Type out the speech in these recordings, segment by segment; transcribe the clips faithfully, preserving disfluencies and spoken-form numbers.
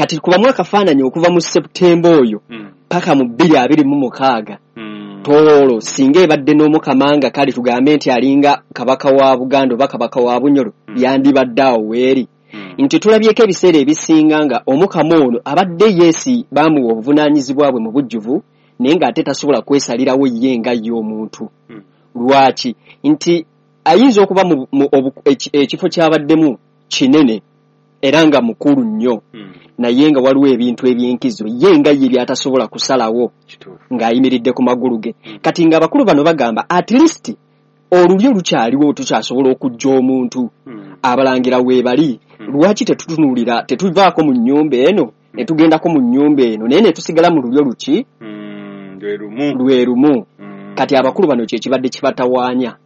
Kati kubamu akafaananyi okuva mu September oyo Mm. paka mu bbiri abiri mu mukaaga. Mm. Tooro singa ebadde n'Omukama nga kale tugambe nti alinga kabaka wa Buganda oba kabaka wa Bunyoro, Mm. yandibadde awo weeri. Mm. Nti tulabyeko ebiseera ebisinga nga Omukama ono abadde yeesi baamuwa obuvunaanyizibwa bwe mu bujjuvu, naye ng'ate tasobola kwesalirawo ye nga ye omuntu. Mm. Lwaki? Nti ayinza okuba mu, mu, obu-, eki-, ekifo ky'abaddemu kinene era nga mukulu nnyo, Mm. naye nga waliwo ebintu eby'enkizo ye nga ye by'atasobola kusalawo Kituufu. ng'ayimiridde ku magulu ge. Mm. Kati ng'abakulu bano bagamba at least olulyo lukyaliwo, tukyasobola okujja omuntu. Mm. Abalangira weebali, Mm. lwaki tetutunuulira, tetuvaako mu nnyumba eno ne tugendako mu nnyumba eno, naye ne tusigala mu lulyo luki? Mm, lwe lumu. Lwe lumu. Mm. Kati abakulu bano kye kibadde kibatawaanya.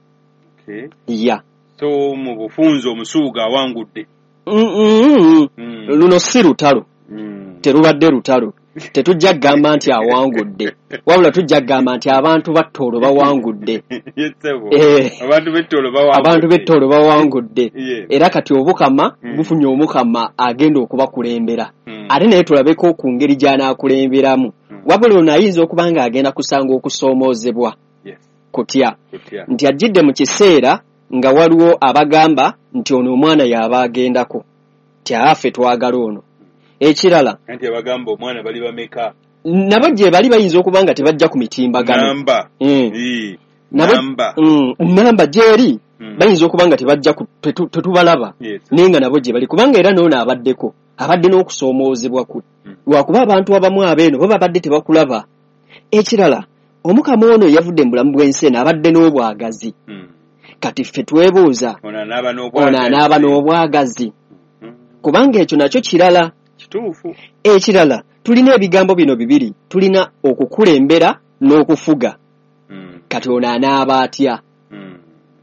Okay. Ya. So mu bufunze omusuuga awangudde. Mm, mm, mm. Mm. Luno si lutalo. Mm. Terubadde lutalo. Tetujja kugamba nti awangudde, wabula tujja kugamba nti abantu ba Tooro bawangudde. Yes, sebo. Eh. Abantu b'e Tooro bawangudde. Abantu b'e Tooro bawangudde. Yes. Era kati Obukama Mm. bufunye Omukama agenda okubakulembera. Mm. Ate naye tulabeko ku ngeri gy'anaakulemberamu. Mm. Wabula ono ayinza okuba ng'agenda kusanga okusoomoozebwa. Yes. Kutya. Kutya. Nti ajjidde mu kiseera nga waliwo abagamba nti ono omwana y'aba agendako, nti affe twagala ono. Ekirala, Anti abagamba omwana bali bameka? Nabo gye bali bayinza okuba nga tebajja ku mitimbagano. Namba. Mm. Ee. Nabo, Namba. Mm, namba gy'eri, Mm. bayinza okuba nga tebajja ku, tetu, tetubalaba. Yes. Naye nga nabo gye bali, kubanga era n'ono abaddeko, abadde n'okusoomoozebwa kwe. Mm. Lwakuba abantu abamu abeeno bo babadde tebakulaba. Ekirala, Omukama ono yavudde mu bulamu bw'ensi eno abadde n'obwagazi. Mm. Kati ffe twebuuza, Ono anaaba n'obwagazi. ono anaaba n'obwagazi. Mm. Kubanga ekyo nakyo kirala. Kituufu. Ekirala, tulina ebigambo bino bibiri, tulina okukulembera n'okufuga. Mm. Kati ono anaaba atya? Mm.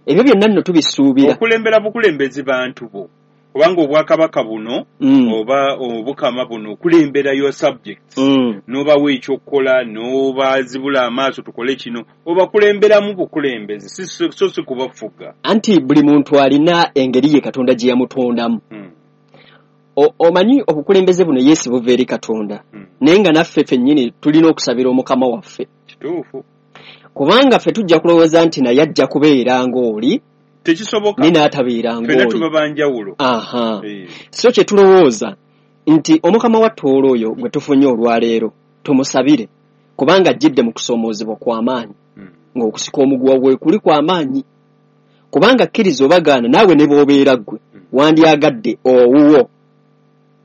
Ebyo byonna nno tubisuubira. Okulembera bukulembezi bantu bo. Kubanga obwakabaka buno, Mm. oba obukama buno, okulembera your subjects. Mm. N'obawa ekyokukola, n'obazibula amaaso tukole kino, obakulemberamu bukulembezi, si, si, so si kubafuga. Anti buli muntu alina engeri ye Katonda gye yamutondamu. Mm. O-, omanyi obukulembeze buno Yesu buva eri Katonda. Mm. Naye nga naffe ffennyini tulina okusabira Omukama waffe. Kituufu. Kubanga ffe tujja kulowooza nti naye ajja kubeera ng'oli, Tekisoboka. naye n'atabeera Ffenna ng'oli. tuba ba njawulo. Aha. Eh. So kye tulowooza nti Omukama wa Tooro oyo gwe tufunye olwaleero tumusabire, kubanga ajjidde mu kusoomoozebwa kw'amaanyi, Mm. ng'okusika omuguwa gwe kuli kw'amaanyi. Kubanga kkiriza obagaana naawe ne bw'obeera ggwe, Mm. wandyagadde owuwo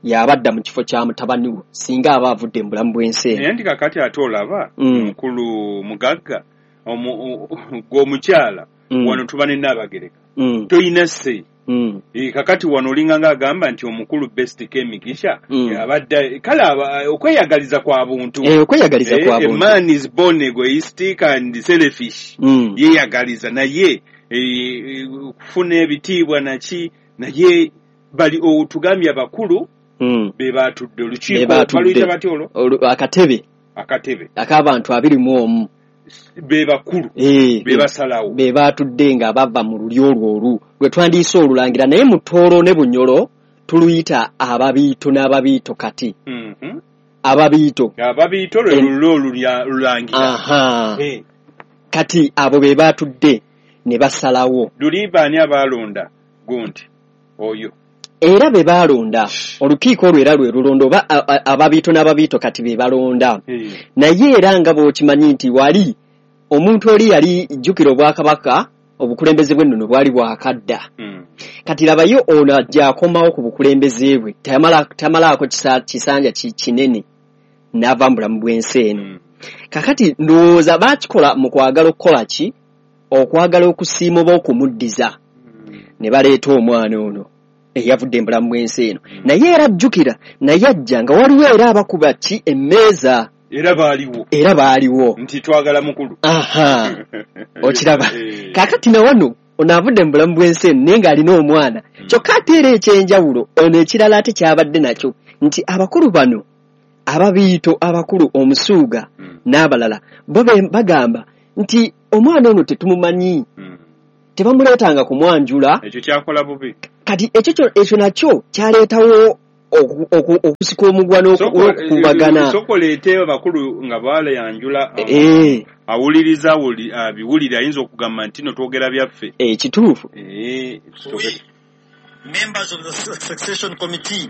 y'abadda mu kifo kya mutabani wo singa aba avudde mu bulamu bw'ensi eno. Naye nti kaakati ate olaba, Mm. mukulu mugagga, omu-, o-, gwe omukyala, Mm. wano tuba ne Nnaabagereka. Mm. Toyina sse. Mm. Eh, kakati wano olinga ng'agamba nti omukulu Best Kemigisha, Mm. abadde, kale aba, okweyagaliza kwa buntu. Eh, okweyagaliza Eh, kwa a buntu. man is born egoistic and selfish. Mm. Yeeyagaliza naye, eh, kufuna ebitiibwa naki, naye bali, o, tugambye abakulu, Mm. be baatudde olukiiko, Be baatudde. baluyita batya olwo? Olu-, akatebe. Akatebe. Ak'abantu abiri mu omu. Be bakulu. Eh, Be basalawo. Be baatudde nga bava mu lulyo olwo olu lwe twandiise olulangira, naye mu Tooro ne Bunyoro tuluyita ababiito n'ababiito kati. Mm-hmm. Ababiito. Ababiito lwe En- lulyo olulya-, olulangira. Aha. Eh. Kati abo be baatudde ne basalawo. Luli baani abaalonda gundi oyo? Era be baalonda olukiiko olwo era lwe lulonda oba a-, a-, ababiito n'ababiito kati be balonda. Eh. Naye era nga bw'okimanyi nti wali omuntu oli yali jjukira obwakabaka, obukulembeze bw'ennono bwali bwakadda. Mm. Kati labayo ono ajja akomawo ku bukulembeze bwe, tamala, tamalaako kisa-, kisanja ki-, kinene n'ava mu bulamu bw'ensi eno. Mm. Kakati ndowooza baakikola mu kwagala okukola ki? Okwagala okusiima oba okumuddiza. Mm. Ne baleeta omwana ono eyavudde mu bulamu bw'ensi eno. Mm. Naye era ajjukira, naye ajja nga waliwo era abakuba ki emmeeza. Era baaliwo. Era baaliwo. Nti twagala mukulu. Aha. Okiraba. Eh. Kaakati na wano ono avudde mu bulamu bw'ensi eno naye ng'alina omwana. Mm. Kyokka ate era eky'enjawulo ono ekirala ate ky'abadde nakyo nti abakulu bano ababiito abakulu omusuuga Mm. n'abalala bo be-, bagamba nti omwana ono tetumumanyi. Mm. Tebamuleetanga kumwanjula. Ekyo kyakola bubi. Kati ekyo kyo, ekyo nakyo kyaleetawo Okusika omugwa n'okukubagana. Sokoleete abakulu nga balayanjula, awuliriza abiwulira ayinza okugamba nti no twogera byaffe. Ekituufu. Members of the succession committee,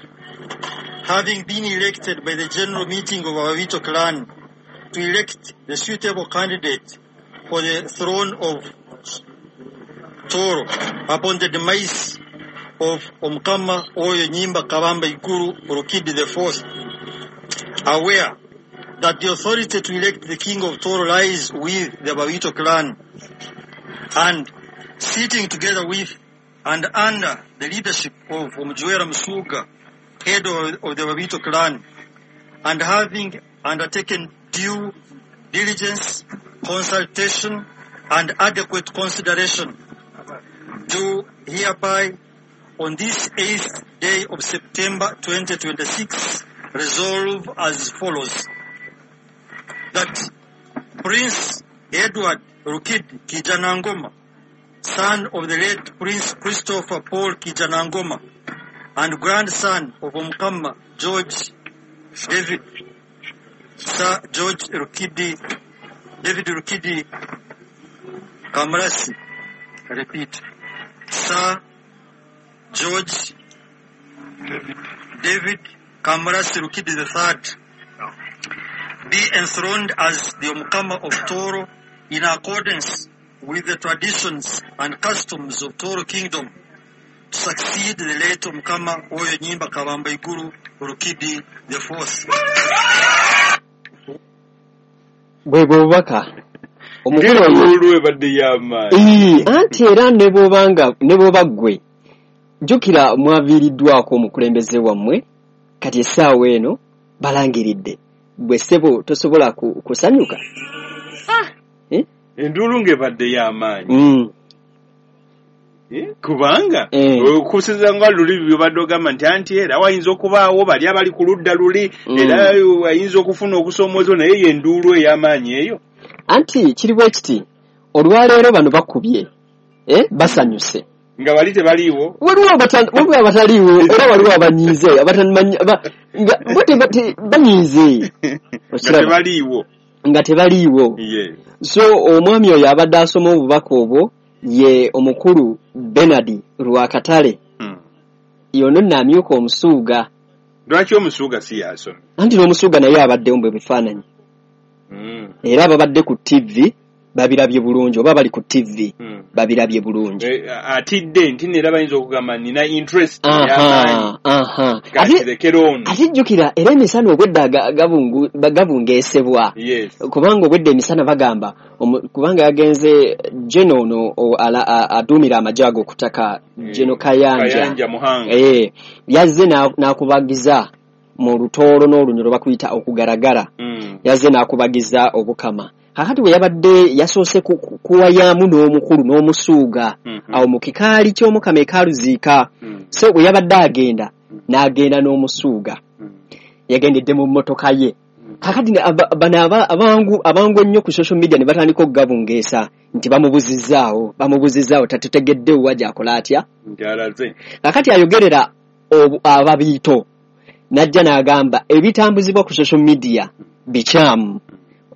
having been elected by the general meeting of Ababito clan to elect the suitable candidate for the throne of Toro upon the demise of Omukama Oyo Nyimba Kabamba Iguru Rukidi the Fourth, aware that the authority to elect the king of Toro lies with the Ababito clan, and sitting together with and under the leadership of Omujwera Musuga, head of, of the Ababito clan, and having undertaken due diligence, consultation, and adequate consideration, do hereby on this eighth day of September twenty twenty-six resolve as follows: that Prince Edward Rukidi Kijanangoma, son of the late Prince Christopher Paul Kijanangoma and grandson of Omukama George David, Sir George Rukidi, David Rukidi Kamurasi, I repeat, Sir George David, David Kamurasi Rukidi the Third, be enthroned as the Omukama of Toro in accordance with the traditions and customs of Toro Kingdom, to succeed the late Omukama Oyo Nyimba Kabamba Iguru Rukidi the Fourth. Bwe bubaka anti era ne bw'obanga ne bw'oba ggwe jjukira mwaviiriddwako omukulembeze wammwe, kati essaawa eno balangiridde gwe ssebo tosobola kusanyuka. Enduulu ng'ebadde y'amaanyi kubanga okusinziira nga luli byobadde ogamba nti anti era wayinza okubaawo bali abali ku ludda luli era ayinza okufuna okusoomooza, naye ye enduulu ey'amaanyi eyo. Anti kiri bwe kiti, olwaleero bano bakubye basanyuse nga bali tebaliiwo, waliwo abataliiwo era waliwo abanyiize banyiize nga tebaliiwo. So omwami oyo abadde asoma obubaka obwo ye omukulu Bernard Rwakatale, yono nnaamyuka omusuuga. Lwaki omusuuga si yasoma? Anti n'omusuuga naye abaddewo bwe bifaananyi, era ababadde ku T V babirabye bulungi, oba bali ku T V babirabye bulungi. Atidde nti era bayinza okugamba nina interest y'amaanyi. Ate jjukira era emisana obwedda gabungeesebwa, kubanga obwedda emisana bagamba kubanga yagenze Geno ono aduumira amagye ago okutaka, Geno Kayanja yazze n'akubagiza mu lutoolo n'olunyolo bakuyita okugaragara, yazze n'akubagiza obukama. Kakati bwe yabadde yasoose kuwayaamu n'omukulu n'omusuuga awo mu kikaali ky'omukama ekaaluziika. So bwe yabadde agenda n'agenda n'omusuuga, yagendedde mu mmotoka ye. Kakati bano abangu abangu ennyo ku social media ne batandika okugabungeesa nti bamubuzizzaawo bamubuzizzaawo tatutegedde wa gy'akola atya. Kakati ayogerera ababiito n'ajja n'agamba ebitambuzibwa ku social media bikyamu,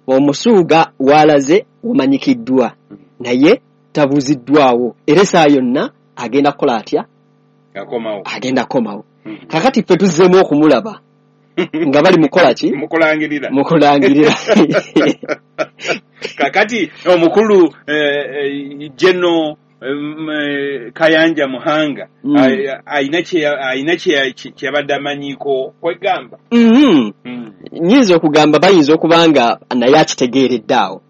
omusuuga walaze omanyikiddwa naye tabuziddwawo, era essaawa yonna agenda kukola atya, agenda kukomawo. Kakati ffe tuzzeemu okumulaba nga bali mukola ki, mukulangirira mukulangirira. Kakati omukulu Geno Kayanja Muhanga ayina kyeyabadde amanyiiko kwegamba. Nyinza okugamba bayinza okuba nga naye akitegeeredde awo,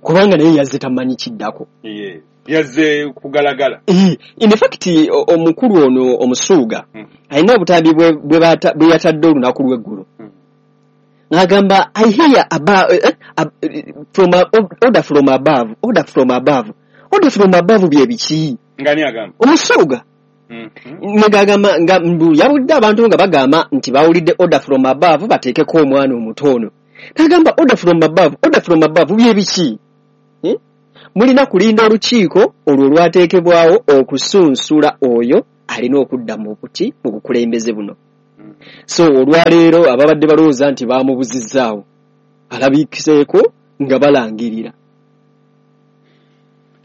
kubanga naye yazze tamanyi kiddako, yazze kugalagala. In fact omukulu ono omusuuga alina obutambi bwe yatadde olunaku lw'eggulo n'agamba I hear order from above, order from above, order from above bye biki? Ngani agamba? Omusuuga. Ngagamba nga mbu yawulidde abantu nga bagamba nti bawulidde order from above bateekeko omwana omutono. N'agamba order from above, order from above bye biki? Mulina kulinda olukiiko olwo olwateekebwawo okusunsula oyo alina okudda mu buti mu bukulembeze buno. So olwaleero ababadde balowooza nti bamubuzizzaawo alabikiseeko nga balangirira.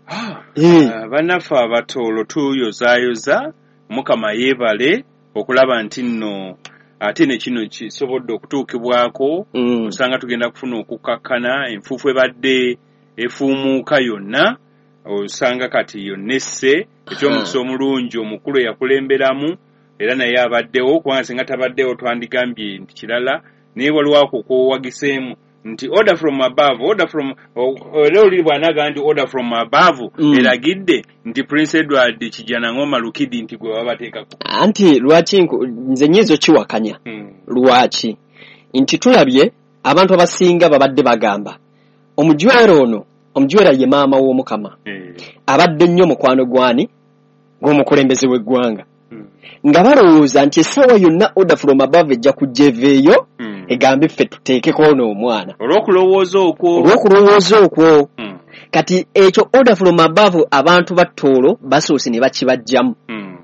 Ah, Eh. ah, bannaffe Abatoolo tuyozaayoza, Mukama yeebale okulaba nti nno ate ne kino kisobodde okutuukibwako. Mm. Osanga tugenda kufuna okukakkana, enfuufu ebadde efuumuuka yonna osanga kati yonna esse. Ekyomukisa omulungi omukulu eyakulemberamu era naye abaddewo, kubanga singa tabaddewo twandigambye nti kirala, naye waliwo ako kwowagiseemu nti order from above, order from o- era oli bw'anaaga nti order from above Mm. eragidde nti Prince Edward Kijjanangoma Lukidi nti gwe babateekako. Anti lwaki nku- nze nnyinza okiwakanya? Mm. Lwaki nti tulabye abantu abasinga babadde bagamba omujwera ono, omujwera ye maama w'Omukama, Eh. abadde nnyo mukwano gwani gw'omukulembeze w'eggwanga, Mm. nga balowooza nti essaawa yonna order from above ejja kujja eveeyo Mm. egambe ffe tuteekeko ono omwana. Olw'okulowooza okwo. Olw'okulowooza okwo. Mm. Kati ekyo order from above abantu ba Tooro basoose ne bakibajjamu Mm.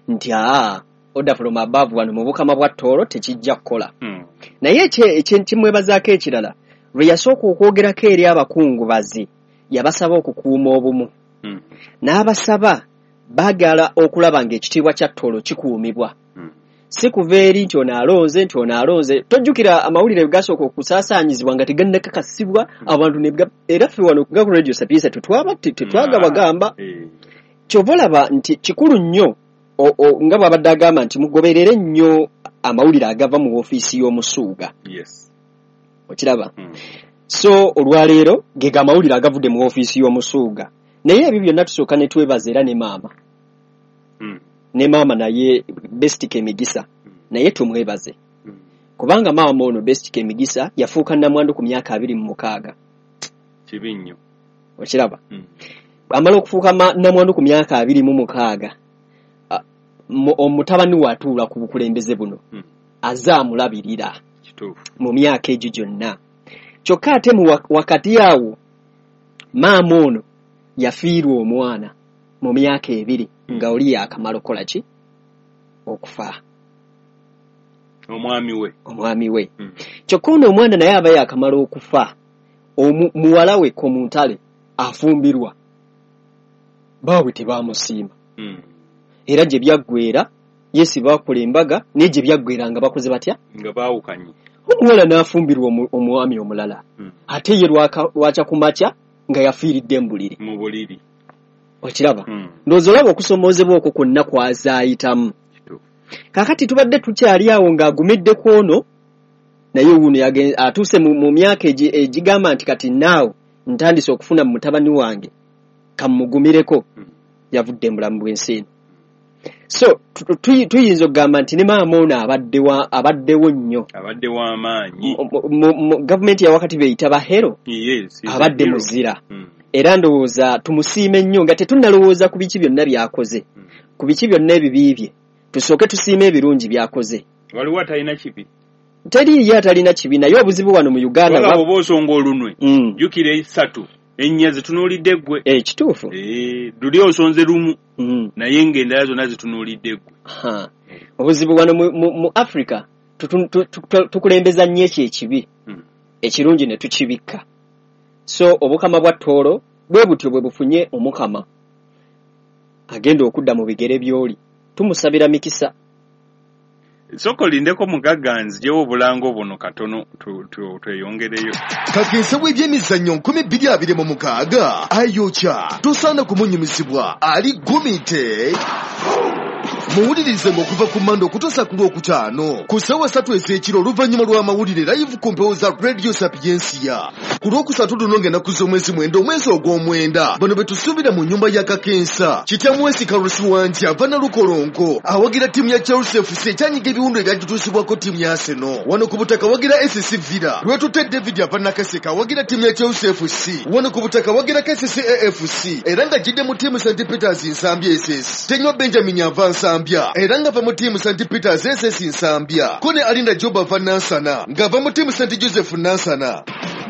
nti aa, order from above wano mu bukama bwa Tooro tekijja kukola. Mm. Naye ekye- ekye- kimwebazaako ekirala, lwe yasooka okwogerako eri abakungubazi yabasaba okukuuma obumu, Mm. n'abasaba baagala okulaba ng'ekitiibwa kya Tooro kikuumibwa, Mm. si kuva eri nti ono alonze nti ono alonze. Tojjukira amawulire gasooka okusaasaanyizibwa nga tegannakakasibwa abantu ne ga- era ffe wano nga ku Radio Sapientia tetwaba tetwagabagamba. Eh. Kyova olaba nti kikulu nnyo o- o- nga bw'abadde agamba nti mugoberere nnyo amawulire agava mu woofiisi y'Omusuuga. Yes. Okiraba? Mm. So olwaleero ge ga amawulire agavudde mu woofiisi y'Omusuuga, naye ebyo byonna tusooka ne twebaza era ne maama, Mm. ne maama naye Best Kemigisa naye tumwebaze, Mm. kubanga maama ono Best Kemigisa yafuuka nnamwandu ku myaka abiri mu mukaaga. Kibi nnyo. Okiraba? Mm. Amala okufuuka ma- nnamwandu ku myaka abiri mu mukaaga, a- mu- omutabani we atuula ku bukulembeze buno Mm. aze amulabirira Kituufu. mu myaka egyo gyonna. Kyokka ate mu wa- wakati awo maama ono yafiirwa omwana mu myaka ebiri nga oli yakamala okukola ki, okufa. Omwami we. Omwami we. Mm. Kyokka ono omwana naye aba yakamala okufa, omu- muwala we Komuntale afumbirwa, baabwe tebaamusiima. Mm. Era gye byaggweera yesi baakola embaga, naye gye byaggweera nga bakoze batya? Nga baawukanye. Omuwala n'afumbirwa omu- omwami omulala, Mm. ate ye lwaka- lwakya ku makya nga yafiiridde mu buliri. Mu buliri. Okiraba? Mm. Ndowooza olaba okusomoozebwa okwo kwonna kwazaayitamu. Kituufu. Kaakati tubadde tukyali awo ng'agumidde ku ono, naye wuuno yagen- atuuse mu, mu myaka egi- egigamba nti kati naawe ntandise okufuna mu mutabani wange kamugumireko, Mm. yavudde mu bulamu bw'ensi eno. So tu- tu- tuyinza okugamba nti ne maama ono abadde wa- abaddewo nnyo. Abadde w'amaanyi. Mu- mu- mu- gavumenti ya wakati beyita bahero, Yes, he's a abadde hero. muzira. Mm. Era ndowooza tumusiime nnyo nga tetunnalowooza ku biki byonna by'akoze, Mm. ku biki byonna ebibi bye, tusooke tusiime ebirungi by'akoze. Waliwo atalina kibi. Teriiyo atalina kibi, naye obuzibu wano mu Uganda Wala ba- bw'oba osonga olunwe, Mm. jjukira esatu ennya zitunuulidde ggwe. Eh, kituufu. Eh, luli osonze lumu, Mm. naye ng'endala zonna zitunuulidde ggwe. Ha. Obuzibu wano mu, mu, mu Africa tutu- tu- tu- tukulembeza nnyo ekyo ekibi, Mm. ekirungi ne tukibikka. So obukama bwa Tooro bwe butyo bwe bufunye omukama agenda okudda mu bigere by'oli, tumusabira mikisa. Sooka olindeko mugagga nziggyewo obulango buno katono tu- tu- tweyongereyo. Kakensa w'ebyemizannyo nkumi bbiri abiri mu mukaaga ayokya, tosaana kumunyumizibwa, ali gumite. Muwulirize ng'okuva ku Mande okutuusa ku Lwokutaano ku ssaawa ssatu ez'ekiro oluvannyuma lw'amawulire live ku mpewo za Radio Sapientia. Ku Lwokusatu luno ng'ennaku z'omwezi mwenda omwezi ogw'omwenda, bano be tusuubira mu nnyumba ya Kakensa. Kityamwesi Kalusi Wangi ava Nalukolongo awagira ttiimu ya Chelsea F C ekyanyiga ebiwundu ebyagituusibwako ttiimu ya Arsenal. Wano ku butaka wagira S C Villa. Lwetute David ava Nakaseke awagira ttiimu ya Chelsea F C. Wano ku butaka wagira K C C A F C era nga ajjidde mu ttiimu Saint Peters Nsambya S S. Tenywa Benjamin ava Nsambya era ng'ava mu ttiimu Saint Peters S S Nsambya. Ko ne Alinda Job ava Nansana ng'ava mu ttiimu Saint Joseph Nansana.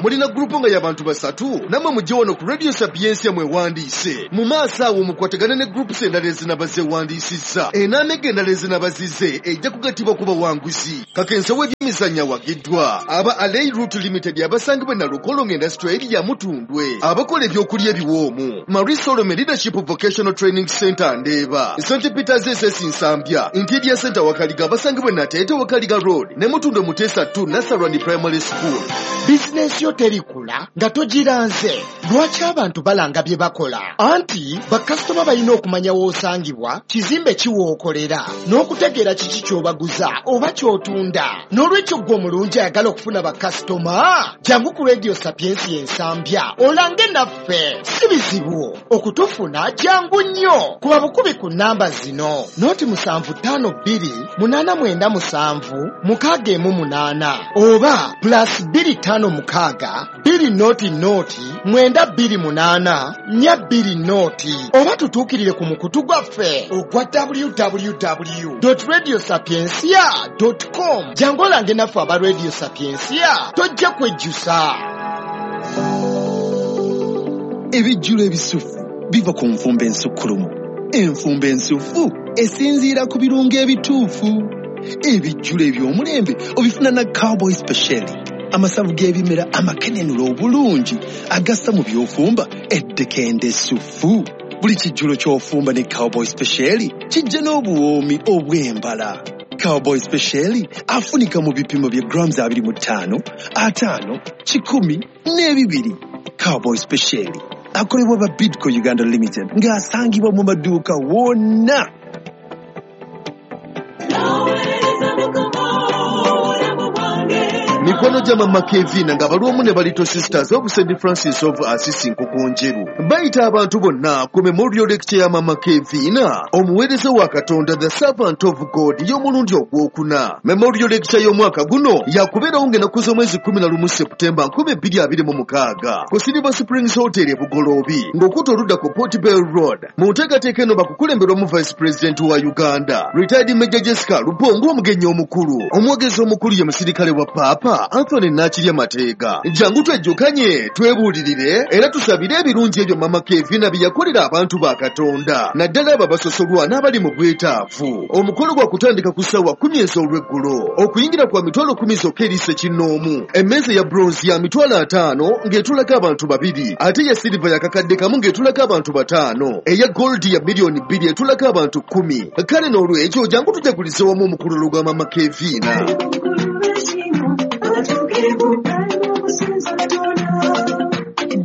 Mulina gurupu nga y'abantu basatu, nammwe mujje wano ku Radio Sapientia mwewandiise. Mu maaso awo mukwatagane ne groups endala ezinaba zeewandiisizza. Enaamega endala ezinaba zizze ejja kugattibwa ku bawanguzi. Kakensa w'ebyemizannyo awagiddwa aba Alei Route Limited abasangibwa e Nalukolongo Industrial Area Mutundwe, abakola ebyokulya ebiwoomu, Marie Solomon Leadership Vocational Training Center Ndeeba, Saint Peters S S Nsambya, Interior Center Wakaliga abasangibwa e Nateete Wakaliga Road ne Mutundwe Muteesa two Nasarani Primary School. Bizinensi yo terikula nga togiranze. Lwaki abantu balanga bye bakola? Anti bakasitoma balina okumanya w'osangibwa, kizimbe ki w'okolera, n'okutegeera kiki ky'obaguza oba ky'otunda. N'olwekyo ggwe omulungi ayagala okufuna bakasitoma, jangu ku Radio Sapientia Ensambya olange naffe. Si bizibu okutufuna, jangu nnyo. Kuba bukubi ku nnamba zino: noti musanvu ttaano bbiri munaana mwenda musanvu mukaaga emu munaana oba plus bbiri ttaano mukaaga bbiri noti noti mwenda bbiri munaana nnya bbiri noti, oba tutuukirire ku mukutu gwaffe ogwa w w w dot radio sapientia dot com. Jangu olange naffe aba Radio Sapientia, tojja kwejjusa. Ebijjulo ebisufu biva ku nfumba ensukkulumu. Enfumba ensufu esinziira ku birungo ebituufu. Ebijjulo eby'omulembe obifuna na Cowboy Special, amasavu g'ebimera amakenenula obulungi agassa mu by'ofumba eddekende essufu. Buli kijjulo ky'ofumba ne Cowboy Special kijja n'obuwoomi obw'embala. Cowboy Special afunika mu bipimo bya grams abiri mu ttaano, ataano, kikumi n'ebibiri. Cowboy Special akolebwa ba Bidco Uganda Limited ng'asangibwa mu maduuka wonna. Mikono gya Mama Kevina nga bali omu ne Little Sisters of Saint Francis of Assisi Nkokonjeru bayita abantu bonna ku memorial lecture ya Mama Kevina, omuweereza wa Katonda, the servant of God, y'omulundi ogwokuna. Memorial lecture y'omwaka guno yakubeerawo ng'ennaku z'omwezi kkumi na lumu Septemba nkumi bbiri abiri mu mukaaga ku Silver Springs Hotel e Bugoloobi ng'okutta oludda ku Port Bell Road. Mu nteekateeka eno bakukulemberwamu Vice President wa Uganda, retired Major Jessica Lupongo omugenyi omukulu. Omwogezi omukulu ye musirikale wa Paapa Anthony Nakirya Mateega. Jangu twejjukanye, twebuulirire era tusabire ebirungi ebyo Mama Kevina bye yakolera abantu ba Katonda, naddala abo abasosolwa n'abali mu bwetaavu. Omukolo gwa kutandika ku ssaawa kkumi ez'olweggulo, okuyingira kwa mitwalo kkumi zokka eri ssekinnoomu. Emmeeza ya bronze ya mitwalo ataano ng'etulako abantu babiri, ate eya silver ya kakadde kamu ng'etulako abantu bataano, eya gold ya miliyoni bbiri etulako abantu kkumi. Kale n'olwekyo jangu tujagulize wamu omukululo gwa Mama Kevina.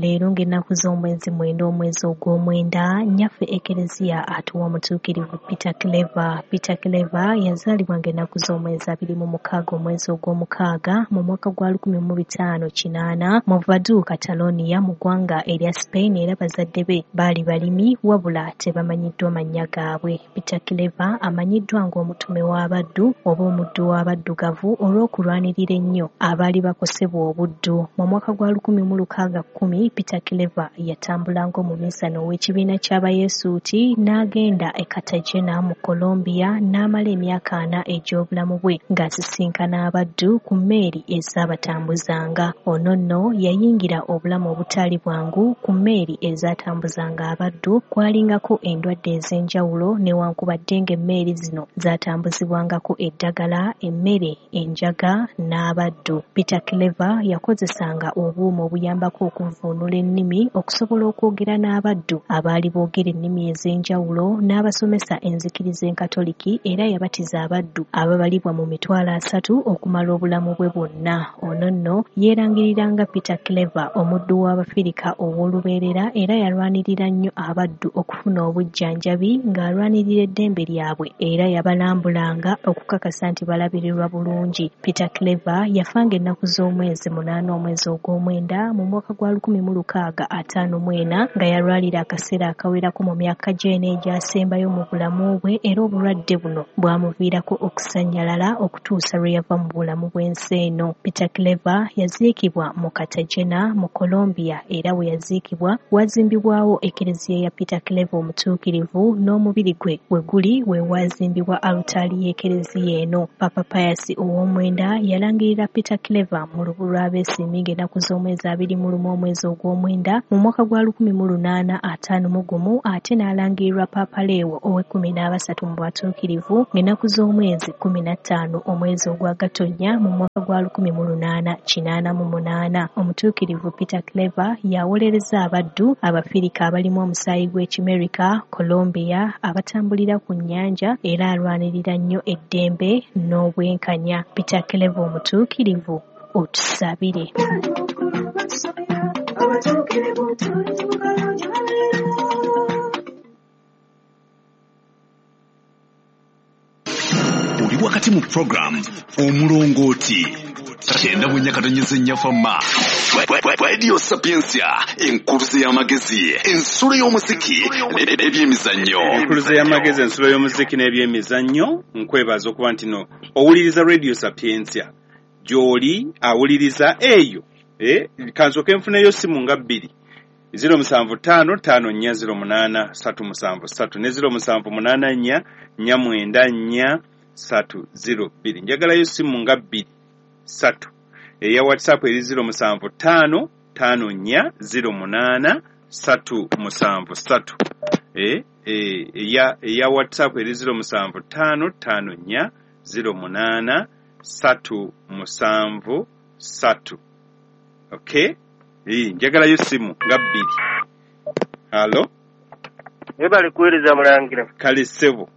Leero ng'ennaku z'omwezi mwenda omwezi ogw'omwenda, nnyaffe Ekereziya atuwa omutuukirivu Peter Clever. Peter Clever yazaalibwa ng'ennaku z'omwezi abiri mu mukaaga omwezi ogw'omukaaga mu mwaka gwa lukumi mu bitaano kinaana mu Vaduz, Catalonia mu ggwanga erya Spain, era bazadde be baali balimi wabula tebamanyiddwa mannya gaabwe. Peter Clever amanyiddwa ng'omutume w'abaddu oba omuddu w'abaddugavu olw'okulwanirira ennyo abaali bakosebwa obuddu. Mu mwaka gwa lukumi mu lukaaga kkumi Peter Clever yatambula ng'omuminsani ow'ekibiina ky'Abayesuuti n'agenda e Cartagena mu Colombia n'amala emyaka ana egy'obulamu bwe ng'asisinkana abaddu ku mmeeri ezaabatambuzanga. Ono nno yayingira obulamu obutaali bwangu ku mmeeri ezaatambuzanga abaddu, kwalingako endwadde ez'enjawulo newankubadde ng'emmeeri zino zaatambuzibwangako eddagala, emmere, enjaga n'abaddu. Peter Clever yakozesanga obuuma obuyambako okuvvuunula ennimi okusobola okwogera n'abaddu abaali boogera ennimi ez'enjawulo n'abasomesa enzikiriza enkatoliki, era yabatiza abaddu ababalibwa mu mitwalo asatu okumala obulamu bwe bwonna. Ono nno yeerangiriranga Peter Clever omuddu w'Abafirika ow'olubeerera, era yalwanirira nnyo abaddu okufuna obujjanjabi ng'alwanirira eddembe lyabwe, era yabalambulanga okukakasa nti balabirirwa bulungi. Peter Clever yafanga ennaku z'omwezi munaana omwezi ogw'omwenda mu mwaka gwa lukumi mu lukaaga ataano mu ena nga yalwalira akaseera akawerako mu myaka gy'ena egyasembayo mu bulamu bwe, era obulwadde buno bwamuviirako okusannyalala okutuusa lwe yava mu bulamu bw'ensi eno. Peter Claver yaziikibwa mu Cartagena mu Colombia, era we yaziikibwa wazimbibwawo ekereziya ya Peter Claver omutuukirivu, n'omubiri gwe we guli we wazimbibwa alutaali y'ekereziya eno. Papa Pius ow'omwenda yalangirira Peter Claver mu lubu lw'abeesiimi ng'ennaku z'omwezi abiri mu lumu omwezi ogw'omwenda mu mwaka gwa lukumi mu lunaana ataano mu gumu, ate n'alangirirwa Papa Leo ow'ekkumi n'abasatu mu bwatuukirivu ng'ennaku z'omwezi kkumi na ttaano omwezi ogwa Gatonnya mu mwaka gwa lukumi mu lunaana kinaana mu munaana. Omutuukirivu Peter Claver yawolereza abaddu Abafirika abalimu omusaayi gw'Ekimerika, Colombia, abatambulira ku nnyanja, era alwanirira nnyo eddembe n'obwenkanya. Peter Claver omutuukirivu, otusabire. Oli wakati mu program Omulongooti kyenda bunya katonyeze nnyafama Radio Sapientia, enkuluze y'amagezi, ensulo y'omuziki n'ebyemizannyo. Enkuluze y'amagezi, ensulo y'omuziki n'ebyemizannyo. Nkwebaza okuba nti no owuliriza Radio Sapientia gy'oli awuliriza eyo. Eh, kansooke nfuneyo simu nga bbiri zero musanvu ttaano ttaano nnya zero munaana ssatu musanvu ssatu ne zero musanvu munaana nnya nnya mwenda nnya ssatu zero bbiri. Njagalayo simu nga bbiri ssatu. Eya WhatsApp eri zero musanvu ttaano ttaano nnya zero munaana ssatu musanvu ssatu. Eh, eh, eya eya WhatsApp eri zero musanvu ttaano ttaano nnya zero munaana ssatu musanvu ssatu. Okay? Eh, njagalayo simu nga bbiri. Hello? Webale kuweereza mulangira. Kale ssebo.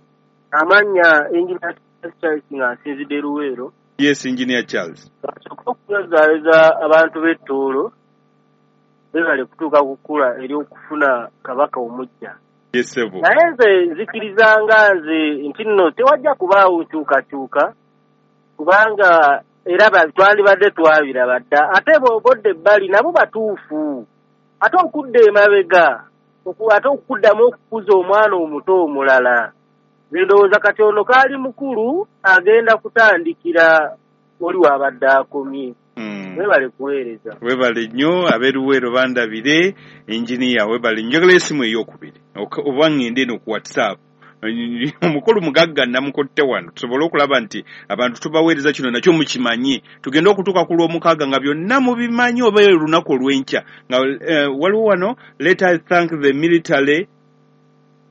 Amannya Engineer Charles nga nsinzidde Luweero. Yes, Engineer Charles. Kasooka okuzaaliza abantu b'Ettoolo webale kutuuka kukula eri okufuna kabaka omuggya. Yes, ssebo. Naye nze nzikiriza nga nze nti nno tewajja kubaawo nkyukakyuka, kubanga era twalibadde twabiraba dda, ate bw'obodde ebbali nabo batuufu, ate okudda emabega ate okuddamu okukuza omwana omuto omulala. Ndowooza kati ono kaali mukulu agenda kutandikira oli wabadde akomye. Webale kuweereza. Webale nnyo ab'eruweero bandabire, engineer webale. Njagala esimu ey'okubiri oba ngende eno ku WhatsApp. Omukulu mugagga namukutte wano tusobole okulaba nti abantu tubaweereza kino nakyo mukimanye, tugende okutuuka ku lw'omukaaga nga byonna mubimanyi oba olunaku olw'enkya nga uh, waliwo wano let us thank the military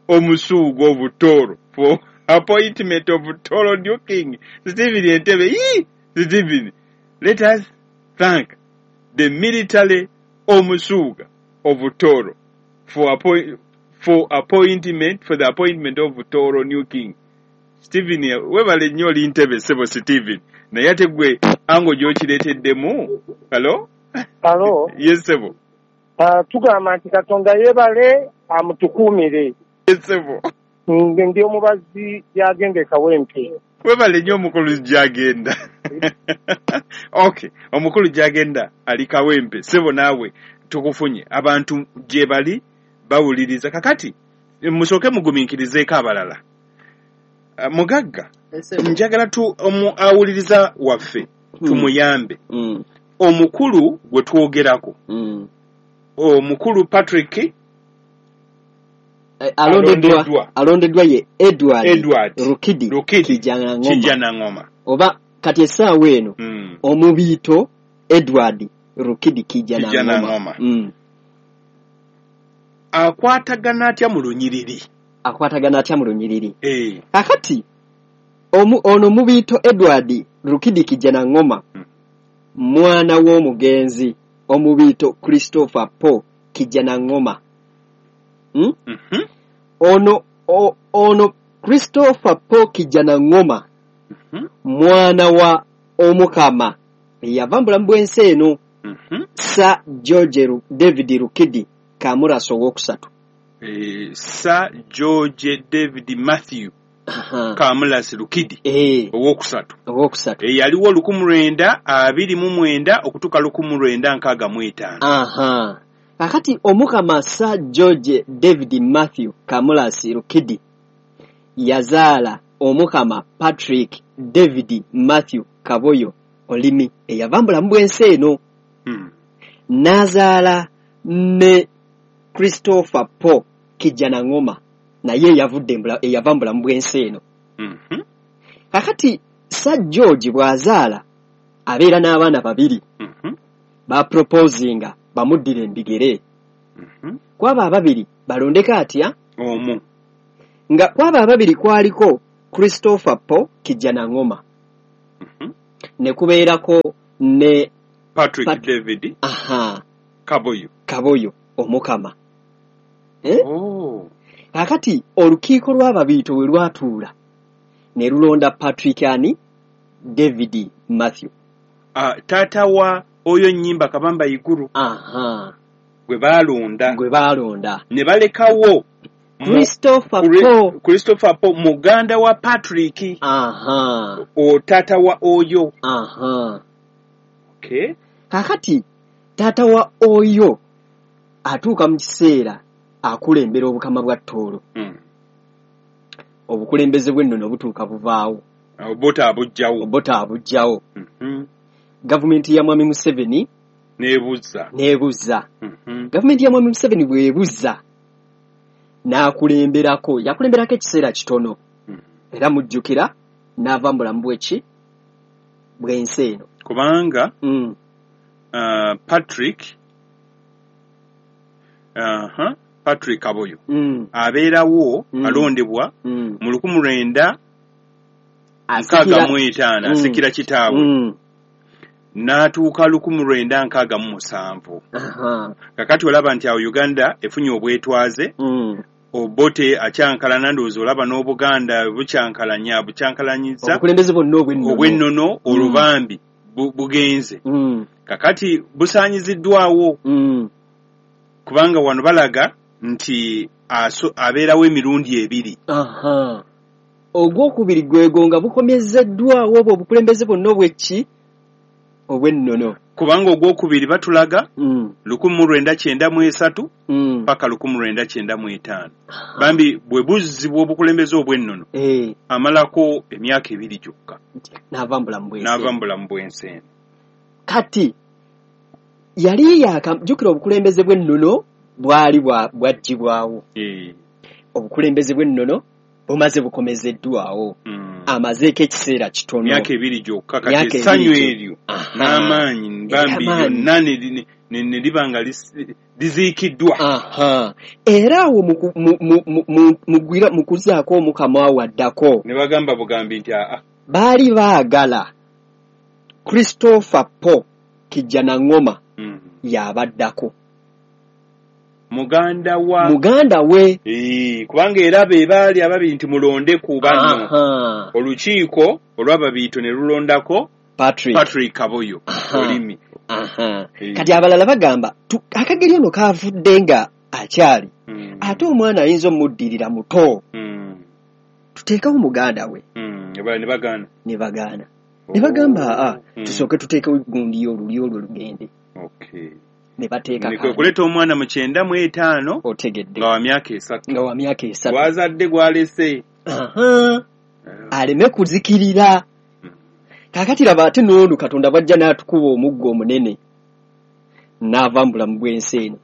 omusuuga of Toro for appointment of Toro new king Stephen Entebbe. Yee! Stephen, let us thank the military omusuuga of Toro for appointment for appointment for the appointment of Toro new king Stephen. Webale nnyo oli Ntebe ssebo Stephen, naye ate gwe ango gy'okireeteddemu. Hello? Hello? Yes, ssebo. Uh, tugamba nti Katonda yeebale amutukuumire. Yes, ssebo. Ndi omubazi gy'agenda e Kawempe. Webale nnyo omukulu gy'agenda. Okay, omukulu gy'agenda ali Kawempe. Ssebo naawe tukufunye. Abantu gye bali bawuliriza. Kakati musooke mugumiikirizeeko abalala. Mugagga, njagala tu omu awuliriza waffe tumuyambe. Mm. Omukulu gwe twogerako, Mm. omukulu Patrick Eh, alondeddwa alondeddwa ye Edward, Edward Rukidi, Rukidi Kijanangoma. Kijanangoma. Oba kati essaawa eno mm. omubiito Edward Rukidi Kijanangoma. Kijanangoma. Mm. Akwatagana atya mu lunyiriri? Akwatagana atya mu lunyiriri? Eh. Kakati omu, ono mubiito Edward Rukidi Kijanangoma mm. mwana w'omugenzi omubiito Christopher Paul Kijanangoma. Mm? Mm -hmm. Ono o, ono Christopher Paul Kijanangoma mm -hmm. mwana wa Omukama yava mu bulamu bw'ensi eno mm -hmm. Sir George David Rukidi Kamurasa owookusatu. Eh, Sir George David Matthew Kamurasi Rukidi eh, owookusatu owookusatu e, yaliwo lukumi lwenda abiri mu mwenda okutuuka lukumi lwenda nkaaga mu etaano. Aha. Kakati Omukama Sir George David Matthew Kamulasi Rukidi yazaala Omukama Patrick David Matthew Kaboyo Olimi eyava mu bulamu bw'ensi eno. Mm. N'azaala ne Christopher Paul Kijjanangoma naye eyavudde mu bula- eyava mu bulamu bw'ensi eno. Mhm. Kakati Sir George bw'azaala abeera n'abaana babiri. Mhm. Baproposinga bamuddire embigere. Mhm. Kwabo ababiri balondeko atya? Omu. Nga kwabo ababiri kwaliko Christopher Paul Kijjanangoma. Mhm. Ne kubeerako ne Patrick Pat- David aha Kaboyo. Kaboyo Omukama. Eh? Oh. Kakati olukiiko lw'ababiito bwe lwatuula ne lulonda Patrick ani David Matthew. Ah, taata wa oyo nnyimba Kabamba Iguru Aha. gwe baalonda. Gwe baalonda. Ne balekawo mu- Christopher Kuri- Paul. Christopher Paul muganda wa Patrick. Aha. O taata wa oyo. Aha. Okay. Kakati taata wa oyo atuuka mu kiseera akulembera obukama bwa Tooro. Mm. Obukulembeze bw'ennono butuuka buvaawo. Obote abujjawo. Obote abujjawo. Mhm. Gavumenti ya Mwami Museveni N'ebuzza. n'ebuzza. Mhm. Gavumenti ya Mwami Museveni bw'ebuzza n'akulemberako, yakulemberako ekiseera kitono. Mm. Era mujjukira n'ava mu bulamu bw'eki bw'ensi eno. Kubanga Mm. uh, Patrick uh-huh, Patrick Kaboyo Mm. abeerawo Mm. alondebwa Mm. mu lukumu lwenda nkaaga Asikira mu etaano Mm. asikira kitaabwe Mm. n'atuuka lukumu lwenda nkaaga mu musanvu. Aha. Kakati olaba nti awo Uganda efunye obwetwaze. Mm. Obote akyankalana, ndowooza olaba n'Obuganda bukyankalanya bukyankalanyiza Obukulembeze bwonna obw'ennono. obw'ennono olubambi bu- bugenze. Mm. Kakati busaanyiziddwawo Mm. kubanga wano balaga nti aso- abeerawo emirundi ebiri. Aha. Ogwokubiri gwego nga bukomezeddwawo obwo obukulembeze bwonna obw'eki obw'ennono. Kubanga ogwokubiri batulaga Mm. lukumu mu lwenda kyenda mu esatu Mm. paka lukumu lwenda kyenda mu etaano. Bambi bwe buzzibwa obukulembeze obw'ennono Eh, amalako emyaka ebiri gyokka n'ava mu bulamu bw'ensi. n'ava mu bulamu bw'ensi eno. Kati yali yaakajjukira obukulembeze bw'ennono bwali bwa- bwaggyibwawo. Eh, Obukulembeze bw'ennono bumaze bukomezeddwawo. mm. Amazeeko ekiseera kitono. Myaka ebiri gyokka kati Myaka ebiri essanyu gyokka. eryo Aha. n'amaanyi bambi Amaanyi. byonna ne li- ne ne liba nga lis- liziikiddwa. Aha. Era awo mu ku- mu- mu- mu- mu- mugwira mu kuzzaako Omukama awo addako Ne bagamba bugambi nti aa baali baagala Christopher Paul Kijjanangoma mm. y'abaddako. Muganda wa Muganda we. Eh, kubanga era be baali ababiri nti mulonde ku banno. Aha. Olukiiko olw'ababiito ne lulondako Patrick. Patrick Kaboyo Aha. Olimi. Aha. Eh. Kati abalala bagamba tu- akageri ono kavudde nga akyali Mm. ate omwana ayinza omuddirira muto Mm. tuteekawo muganda we. Mm. Abalala ne bagaana. Ne bagaana ne bagamba aa Mm. tusooke tuteekewo gundi olulyo olwo lugende. Okay. Ne bateeka Ne kwe kandi. kuleeta omwana mu kyenda mu etaano Otegedde. nga wa myaka esatu. Nga wa myaka esatu. Gwazadde gwalese. Aha. Aleme kuzikirira. Mm. Kaakati laba ate n'ono Katonda bw'ajja n'atukuba omuggo omunene n'ava mu bulamu bw'ensi eno.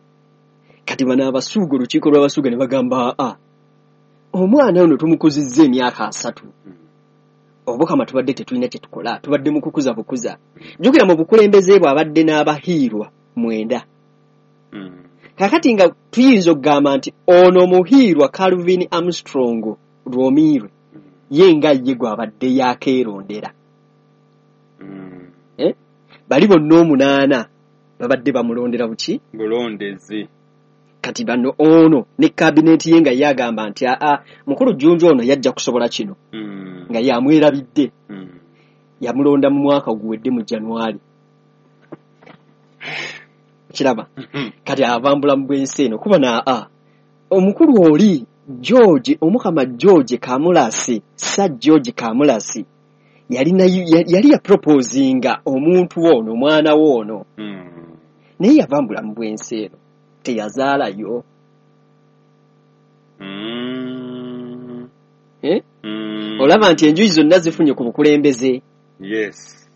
Kati bano abasuuga olukiiko lw'abasuuga ne bagamba aa omwana ono tumukuzizza emyaka asatu. Obukama tubadde tetulina kye tukola, tubadde mu kukuza bukuza. Jjukira mu bukulembeze bwe abadde n'abahiirwa mwenda. Mm. Kaakati nga tuyinza okugamba nti ono omuhiirwa Calvin Armstrong Rwomiirwe ye nga ye gw'abadde yakeerondera. Mm. Eh? Bali bonna omunaana babadde bamulondera buki? Bulondezi. Kati bano ono ne kabineeti ye nga ye agamba nti aa mukulu Jjunju ono yajja kusobola kino Mm. nga yamwerabidde. Mm. Yamulonda mu mwaka oguwedde mu January. Kiraba kati ava mu bulamu bw'ensi eno kuba na a omukulu oli George Omukama George Kamulasi Sir George Kamulasi yalina yali yaproposinga omuntu ono omwana we ono Mm. naye yava mu bulamu bw'ensi eno. Teyazaalayo. Mm. Eh? Mm. Olaba nti enjuyi zonna zifunye ku bukulembeze. Yes.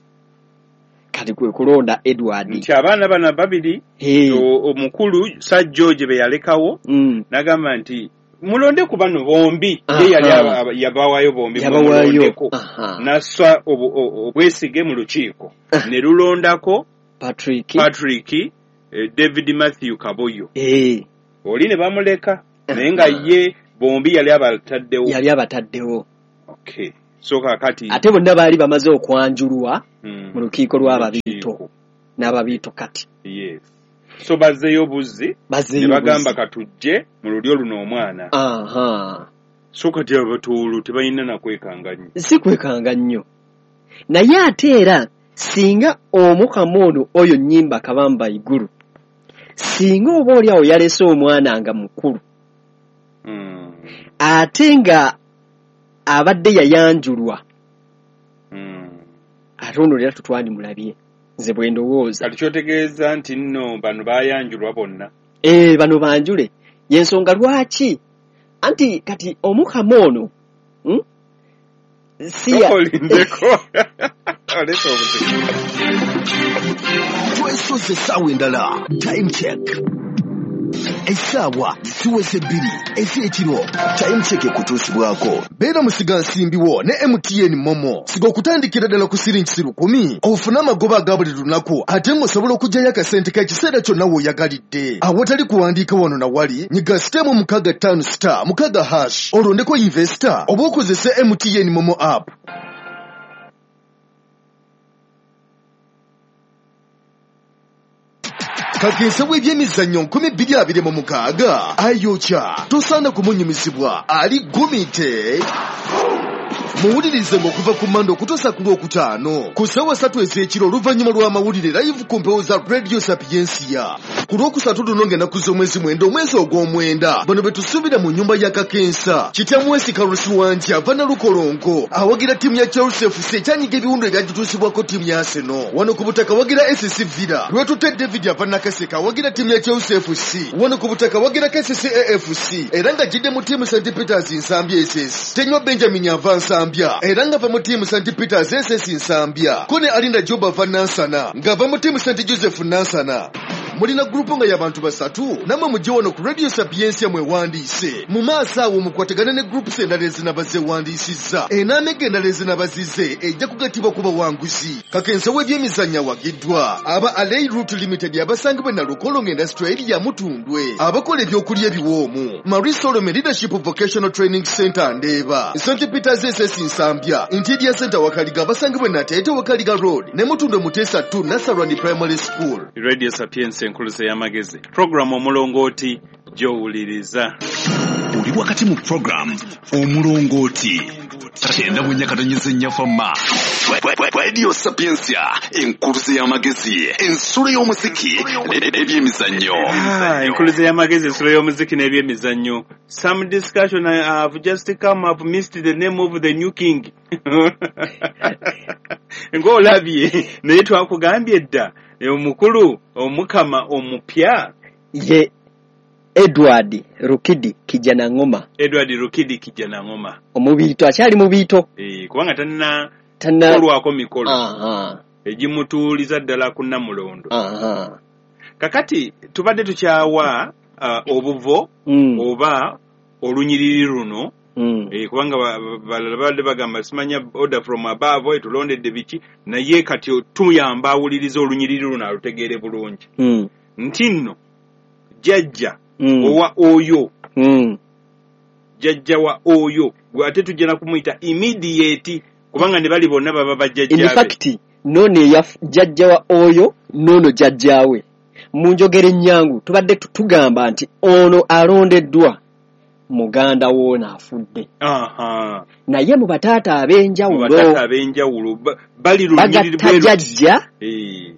Kati kwe kulonda Edward. Nti abaana bano babiri, Hey. o- omukulu Sir George be yalekawo, Mm. n'agamba nti mulonde ku bano bombi. Aha. Ye yali aba- aba- yabawaayo bombi, Yabawaayo. mumulondeko. Aha. N'assa obu- o- obwesige mu lukiiko. Ah. Ne lulondako Patrick. Patrick, eh, David Matthew Kaboyo. Eh. Oli ne bamuleka, naye nga ye bombi yali abataddewo. Yali abataddewo. Okay. So kaakati Ate bonna baali bamaze okwanjulwa mm, mu lukiiko lw'ababiito lukiiko. n'ababiito kati. Yes. So bazzeeyo buzzi, Bazzeeyo ne bagamba buzzi. katujje mu lulyo luno omwana. Aha. So kati abatuulu tebalina na kwekanga nnyo. Si kwekanga nnyo. Naye ate era singa omukama ono oyo Nnyimba Kabamba Iguru, singa oba oli awo yalese omwana nga mukulu, Mm. ate nga abadde yayanjulwa, Mm. ate ono era tutwandimulabye, nze bwe ndowooza. Kati kyotegeeza nti nno bano baayanjulwa bonna. Eh, bano banjule. Y'ensonga lwaki anti kati omukama ono, hmm? Si ya- Tokolindeko. Oleeta obuzibu. Twesoze essaawa endala. Time check. Essaawa ziweze bbiri ez'ekiro. Time check ekutuusibwako. Beera musigansimbi wo ne M T N Momo. Siga okutandikira ddala ku siringi lukumi, ofune amagoba aga buli lunaku, ate ng'osobola okuggyayo akasente k'ekiseera kyonna w'oyagalidde. Awatali kuwandiika wano na wali, nyiga sitemu mukaaga ttaano star mukaaga hash, olondeko investor oba okozese M T N Momo app. Kakensa w'ebyemizannyo nkumi bbiri abiri mu mukaaga ayokya, tosaana kumunyumizibwa, ali gumite. Muwulirize ng'okuva ku Mmande okutuusa ku Lwokutaano ku ssaawa ssatu ez'ekiro oluvannyuma lw'amawulire live ku mpewo za Radio Sapientia. Ku Lwokusatu luno ng'ennaku z'omwezi mwenda omwezi ogw'omwenda, bano be tusuubira mu nnyumba ya Kakensa. Kitamwesi Kalusi Wanja ava Nalukolongo awagira ttiimu ya Chelsea F C ekyanyiga ebiwundu ebyagituusibwako ttiimu ya Arsenal. Wano ku butaka wagira S C Villa. Lwetute David ava Nakaseka awagira ttiimu ya Chelsea F C. Wano ku butaka wagira K C C A F C era nga agidde mu ttiimu Saint Peters Nsambya S S. Tenywa Benjamin ava Nsambya era ng'ava mu ttiimu Saint Peters S S Nsambya. Ko ne Alinda Job ava Nansana ng'ava mu ttiimu Saint Joseph Nansana. Mulina gurupu nga y'abantu basatu, nammwe mujje wano ku Radio Sapientia mwewandiise. Mu maaso awo mukwatagane ne groups endala ezinaba zeewandiisizza. Enaamega endala ezinaba zizze ejja kugattibwa ku bawanguzi. Kakensa w'ebyemizannyo awagiddwa aba Alei Route Limited abasangibwa e Nalukolongo Industrial Area Mutundwe, abakola ebyokulya ebiwoomu, Marie Solomon Leadership Vocational Training Center Ndeeba, Saint Peters S S Nsambya, Interior Center Wakaliga abasangibwa e Nateete Wakaliga Road ne Mutundwe Muteesa two Nasarani Primary School. Radio Sapientia enkuluze y'amagezi. Program omulongooti gy'owuliriza. Oli wakati mu program omulongooti kyenda mu nyakatonyeze nnyafamma. Radio Sapientia enkuluze y'amagezi, ensulo y'omuziki n'ebyemizannyo. Ah, enkuluze y'amagezi, ensulo y'omuziki n'ebyemizannyo. Some discussion I have just come, I've missed the name of the new king. Ng'olabye, naye twakugambye dda omukulu omukama omupya ye Edward Rukidi Kijanangoma. Edward Rukidi Kijanangoma omubiito, akyali mubiito. Eh, kubanga tanna Tanna kolwako mikolo Aha. egimutuuliza ddala ku Nnamulondo. Aha. Kakati tubadde tukyawa uh, obuvo Mm. oba olunyiriri luno. Mm. Eh, kubanga balala babadde bagamba simanya order from above etulondedde biki, naye kati tuyamba awuliriza olunyiriri luno alutegeere bulungi. Mm. Nti nno jjajja Mm. owa oyo, Mm. jjajja wa oyo gwe ate tujja na kumuyita immediate kubanga ne bali bonna baba bajjajjaabe. In fact nono eya jjajja wa oyo nono jjajjaawe. Mu njogera ennyangu tubadde tugamba nti ono alondeddwa muganda woona afudde. Aha. Naye mu bataata ab'enjawulo, mu bataata ab'enjawulo bali lunyiriri bagatta jjajja, eh,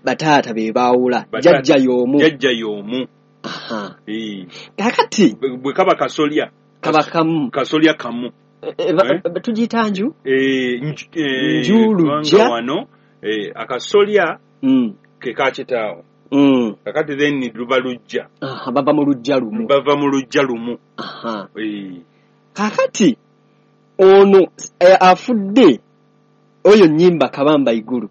bataata be baawula, jjajja y'omu, jjajja y'omu. Aha. Eh. Kakati bwe kaba kasolya kaba kamu, kasolya kamu, e, e, tugiyita nju, eh, nju lujja wano, eh, akasolya mm. ke kakitaawo. Mm. Kakati then luba lujja. Aha, bava mu lujja lumu. Bava mu lujja lumu. Aha. E. Kakati ono e, afudde oyo Nyimba Kabamba Iguru,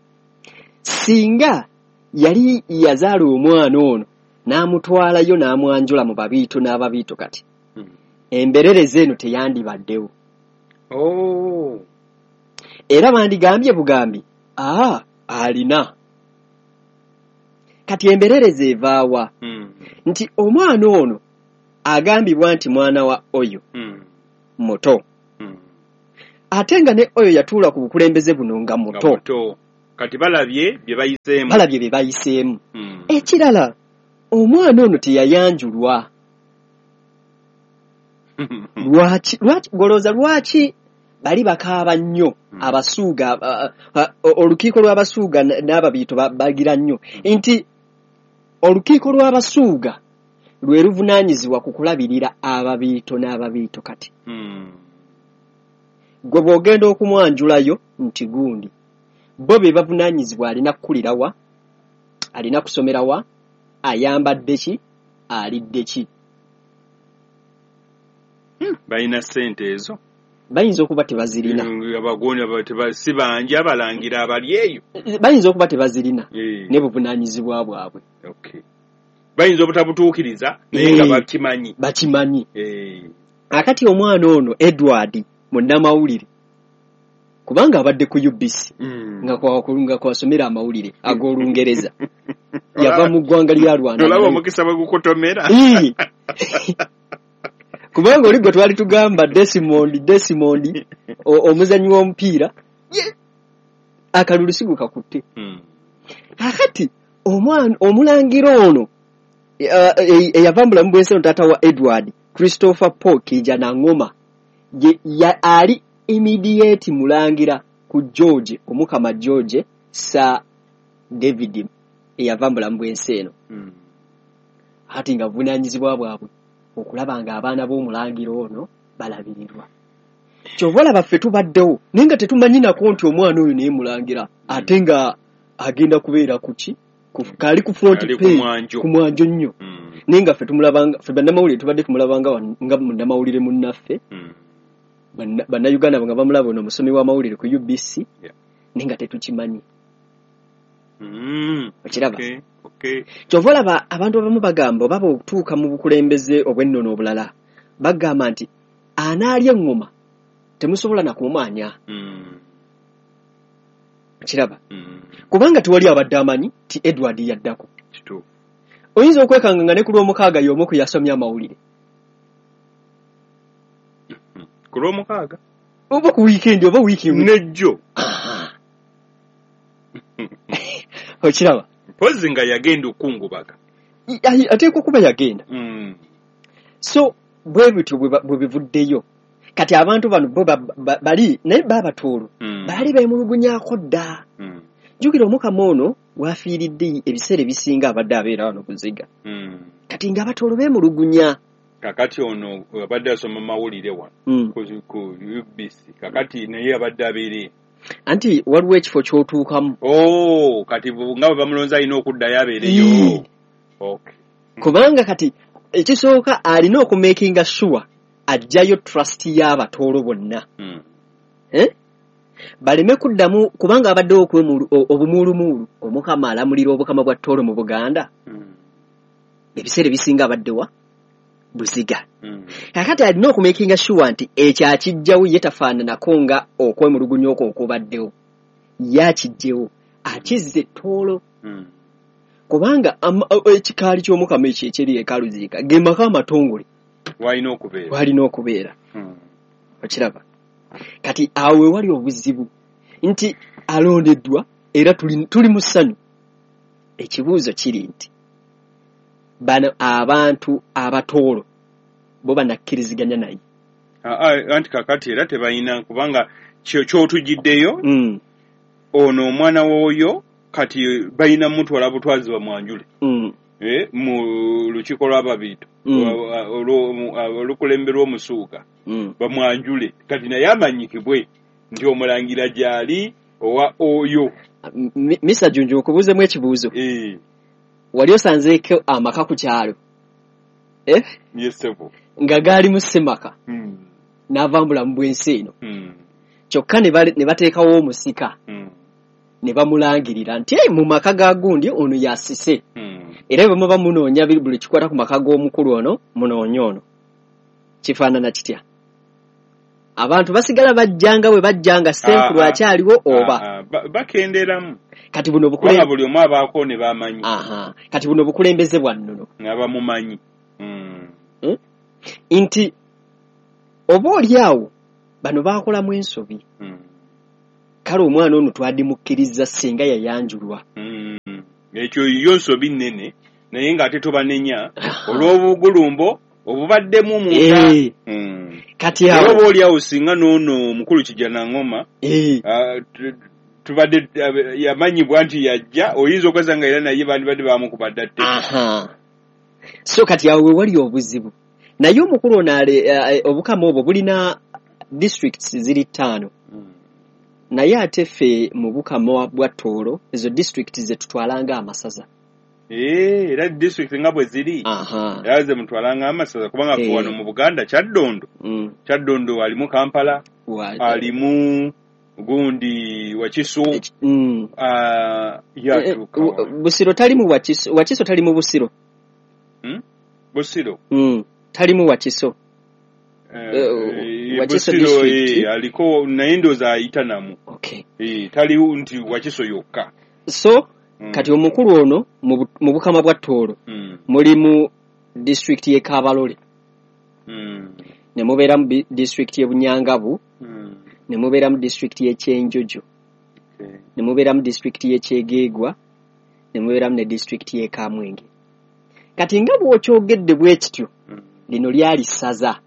singa yali yazaala omwana ono n'amutwalayo n'amwanjula mu babiito n'ababiito kati mm. embererezi eno teyandibaddewo. Oh. Era bandigambye bugambi aa alina. Kati embererezi evaawa mm. nti omwana ono agambibwa nti mwana wa oyo mm. muto mm. ate nga ne oyo yatuula ku bukulembeze buno nga muto. Muto. Kati balabye bye bayiseemu. Balabye bye bayiseemu. Mm. Ekirala omwana ono teyayanjulwa. Lwaki lwaki golooza lwaki bali bakaaba nnyo mm. abasuuga olukiiko lw'abasuuga n'ababiito bagira nnyo nti olukiiko lw'abasuuga lwe luvunaanyizibwa ku kulabirira ababiito n'ababiito kati mm. gwe bw'ogenda okumwanjulayo nti gundi bo be bavunaanyizibwa alina kukulira wa, alina kusomera wa, ayambadde ki, alidde ki. Hmm, balina ssente ezo bayinza okuba tebazirina. Abagoni si bangi abalangira abali eyo bayinza okuba tebazirina e. ne buvunaanyizibwa bwabwe. Okay. Bayinza obutabutuukiriza naye nga bakimanyi. Bakimanyi. E. Akati omwana ono Edward munnamawulire kubanga abadde ku U B C mm. nga kwa kwasomera amawulire ag'Olungereza yava mu ggwanga lya Rwanda. Olaba omukisa bwe gukutomera. Kubanga oli gwe twali tugamba Desmond Desmond omuzannyi w'omupiira akalulu si gukakutte. Mm. Akati omwana omulangira ono eyava mu bulamu bw'ensi eno taata wa Edward Christopher Paul Kijanangoma ye ali immediate mulangira ku George omukama George Sir David eyava mu bulamu bw'ensi eno. Mm. Ati nga buvunaanyizibwa bwabwe okulaba nga abaana b'omulangira ono balabirirwa. Ky'ova olaba ffe tubaddewo naye nga tetumanyi nako nti omwana oyo naye mulangira ate nga agenda kubeera ku ki kali ku front page ku mwanjo nnyo. Mm. Naye nga ffe tumulabanga ffe bannamawulire tubadde tumulabanga nga munnamawulire munnaffe. Mm. Bannayuganda nga bamulaba ono omusomi w'amawulire ku U B C yeah. naye nga tetukimanyi. Mm. Okiraba? Okay. Okay. Ky'ova olaba abantu abamu bagamba oba bw'otuuka mu bukulembeze obw'ennono obulala bagamba nti anaalya eŋŋoma temusobola na kumumanya. Mm. Okiraba? Mm. Kubanga tewali abadde amanyi ti Edward yaddako. Kituufu. Oyinza okwekanga nga ne ku lw'omukaaga y'omu ku yasomye amawulire. Ku lw'omukaaga? Oba ku wiikendi oba wiiki nejjo. Okiraba? Mpozi nga yagenda okungubaga. Ateekwa okuba yagenda. Mm. So bwe bityo bwe bivuddeyo. Kati abantu bano bo bali naye baabatoolo mm. baali beemulugunyaako dda. Mm. Jjukira omukama ono wafiiridde ebiseera ebisinga abadde abeera wano Buziga. Mm. Kati ng'abatoolo beemulugunya. Kakati ono abadde asoma mawulire wano mm. ku, ku U B C kakati naye abadde abeere anti waliwo ekifo ky'otuukamu. Oh, kati nga bwe bamulonze alina okuddayo abeereyo. Okay. Kubanga kati ekisooka alina okumakinga sure ajjayo trust y'abatoolo bonna. Mm. Eh? Baleme kuddamu kubanga abaddewo obumuulumuulu omukama alamulira obukama bwa Tooro mu Buganda. Mm. Ebiseera ebisinga abaddewa Buziga. Mm. Kakati alina okumakinga sure nti ekyo akijjawo ye tafaananako nga okwemulugunya okwo okubaddewo. Ye akijjewo akizze Tooro. Mm. Kubanga ekikaali ky'omukama ekyo ekiri e Kaluziika ge maka amatongole walina okubeera. Walina okubeera. Mm. Okiraba? Kati awo we wali obuzibu nti alondeddwa era tuli, tuli mu ssanyu. Ekibuuzo kiri nti bano abantu abatoolo bo banakkiriziganya naye. Anti kakati era tebalina kubanga ky'otujjiddeyo mm. ono omwana w'oyo kati balina mutwala butwazi bamwanjule mm. eh, mu lukiiko lw'ababiito mm. olukulemberwa omusuuka mm. bamwanjule kati naye amanyikibwe nti omulangira gy'ali owa oyo. Mister Junju okubuuzemu ekibuuzo e. Wali osanzeeko amaka ku kyalo eh? Yes, nga gaalimu ssemaka mm. n'ava mu bulamu bw'ensi eno mm. kyokka ne bateekawo omusika mm. ne bamulangirira nti mu maka ga gundi ono yasise mm. era bwe muba munoonya buli kikwata ku maka g'omukulu ono munoonya ono kifaanana kitya? Abantu basigala bajjanga bwe bajjanga ssenkulu akyaliwo oba bakenderamu. Kati buno bukulembeze buli omu abaako ne bamanyi. Aha, kati buno bukulembeze bwa nnono abamumanyi mm. hmm? Nti oba oli awo bano baakolamu ensobi mm. kale omwana ono twadimukkiriza singa yayanjulwa mm. Ekyo yo nsobi nnene naye ng'ate tobanenya olw'obugulumbo obubaddemu munda e. mm. Kati awo oba oli awo singa n'ono omukulu Kijjanangoma e. uh, tubadde yamanyibwa nti yajja oyinza okweza nga era naye bandibadde bamukubadde tte. Aha, so kati awo we wali obuzibu. Naye omukulu ono obukama obwo bulina districts ziri ttaano mm. naye ate ffe mu bukama bwa Tooro ezo districts ze tutwalanga amasaza. Eh, era district nga bwe ziri era ze mutwalanga amasaza kubanga e. wano mu Buganda Kyaddondo mm. Kyaddondo alimu Kampala alimu gundi Wakiso mm. uh, yatuuka e, Busiro talimu Wakiso, Wakiso talimu Busiro mm? Busiro mm. talimu Wakiso eh, uh, Wakiso Busiro district eh, aliko naye ndowooza ayita namu okay. eh, taliwo nti Wakiso yokka. So mm. kati omukulu ono mu bukama bwa Tooro mm. mulimu district y'e Kabarole mm. ne mubeeramu district y'e Bunyangabu mm. ne mubeeramu district y'e Kyenjojo okay. ne mubeeramu district y'e Kyegeegwa ne mubeeramu ne district y'e Kamwenge. Kati nga bw'okyogedde bwe kityo mm. lino lyali ssaza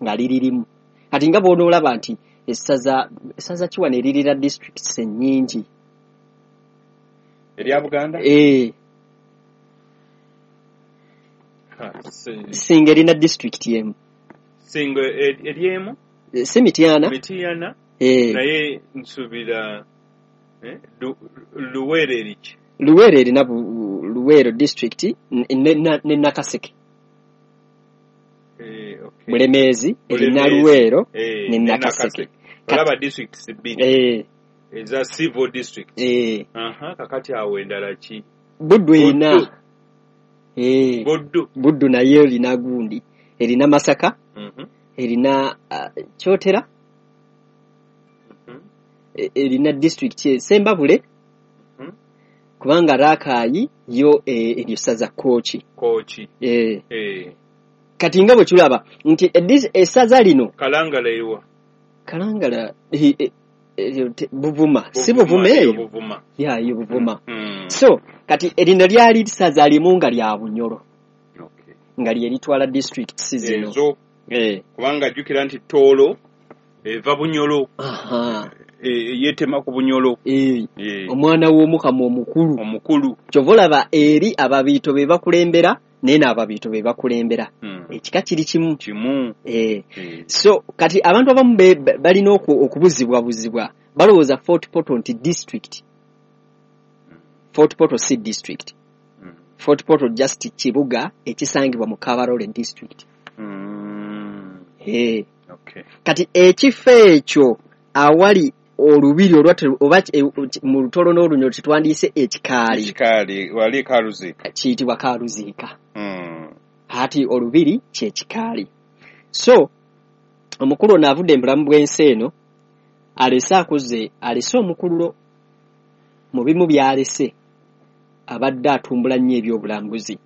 nga liririmu. Kati nga bw'onoolaba nti essaza essaza ki wano eririra districts ennyingi erya Buganda eh Singa erina district emu Singa eri emu si Mityana Mityana eh naye nsuubira eh, Luweero eriki Luweero erina Luweero district ne Nakaseke eh, okay. Bulemeezi erina Luweero eh, ne Nakaseke. Olaba districts bbiri eh eza civil district eh aha kakati awo endala ki Buddu erina eh Buddu Buddu naye erina gundi erina Masaka mm -hmm. erina uh, Kyotera mm -hmm. erina district Sembabule mm -hmm. kubanga Rakai yo eh, eryo ssaza Kooki Kooki eh. eh Kati nga bwe tulaba nti essaza lino Kalangala eriwa Kalangala eh, eh, Buvuma si Buvuma eyo Buvuma ya yo Buvuma mm. So kati erino lyali ssaza limu nga lya Bunyoro okay. nga lye litwala districts zino ezo eh kubanga jjukira nti Tooro eva Bunyoro aha e, yetema ku Bunyoro eh e. Omwana w'omukama omukulu omukulu kyova olaba eri ababiito be bakulembera naye n'ababiito be bakulembera mm. ekika kiri kimu kimu eh. e. So kati abantu abamu balina okubuzibwabuzibwa balowooza Fort Portal nti district mm. Fort Portal si district mm. Fort Portal just kibuga ekisangibwa mu Kabarole district mm. eh. okay. Kati ekifo ekyo awali olubiri olwa oba mu Lutooro n'Olunyoro tetwandiise ekikaali ekikaali wali Karuziika kiyitibwa Karuziika mm. ati olubiri kyekikaali. So omukulu ono avudde mu bulamu bw'ensi eno alese akuze alese omukululo mu bimu by'alese abadde atumbula nnyo ebyobulambuzi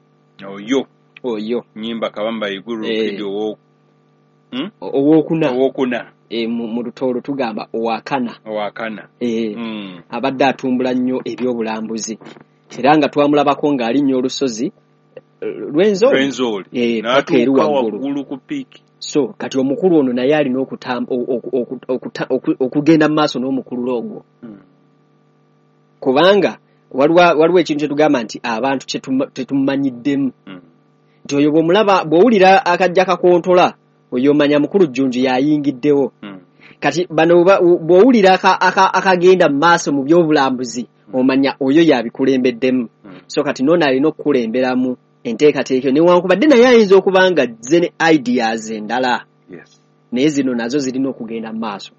oyo oyo Nyimba Kabamba Iguru eh. Kidi owo hmm? owokuna owokuna e, mu Lutooro tugamba owakana owakana e, mm. abadde atumbula nnyo ebyobulambuzi era nga twamulabako ng'alinnya olusozi Rwenzori Rwenzori e, paka eri waggulu ku piiki. So kati omukulu ono naye alina okugenda mu maaso n'omukululo ogwo mm. kubanga waliwo ekintu kyetugamba nti abantu tetumanyiddemu mm. nti oyo bw'omulaba bw'owulira akajja kakontola oyo omanya mukulu Jjunju yayingiddewo mm. Kati bano bw'owulira akagenda mu maaso mu byobulambuzi omanya oyo yabikulembeddemu. Mm. So kati nono alina okukulemberamu enteekateeka eyo, newankubadde naye ayinza okuba nga azze ne ideas endala. Yes. Naye zino nazo zirina okugenda mu maaso.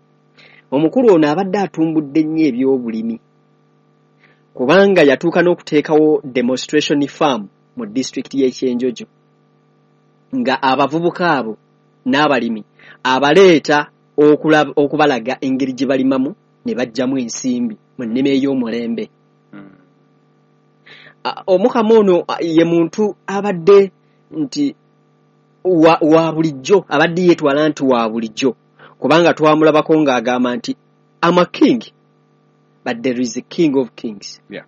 Omukulu ono abadde atumbudde nnyo ebyobulimi, kubanga yatuuka n'okuteekawo demonstration farm mu disitulikiti y'e Kyenjojo, nga abavubuka abo n'abalimi abaleeta okulab-, okubalaga engeri gye balimamu ne baggyamu ensimbi mu nnima ey'omulembe. Mm. A-, Omukama ono, a, ye muntu abadde nti wa, wa bulijjo, abadde yeetwala nti wa bulijjo, kubanga twamulabako ng'agamba nti I'm a king, but there is a king of kings. Yeah.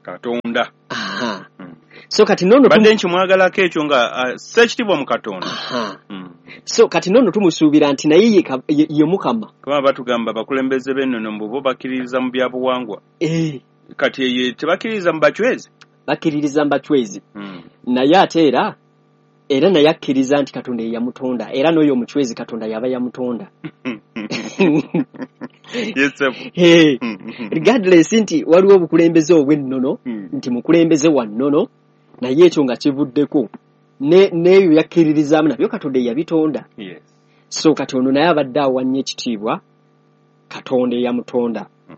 Katonda. Aha. Mm. So kati nono Badde tumu- nkimwagalako ekyo nga, uh, ssa ekitiibwa mu Katonda. Aha. Mm. So kati nono tumusuubira nti naye ye ka-, ye, ye Mukama. Kuba batugamba abakulembeze b'ennono mbu bo bakkiririza mu bya buwangwa. Eh. Kati ye tebakkiririza mu bachwezi? Bakkiririza mu bachwezi. Mm. Naye ate era, era naye akkiriza nti Katonda ye yamutonda, era n'oyo omuchwezi Katonda yaba yamutonda. Yes, sir. Hey. Regardless nti waliwo obukulembeze obw'ennono, Mm. nti mukulembeze wa nnono, naye ekyo nga kivuddeko ne, n'ebyo yakkiririzaamu nabyo Katonda ye yabitonda. Yes. So kati ono naye abadde awa nnyo ekitiibwa Katonda eyamutonda. Mm.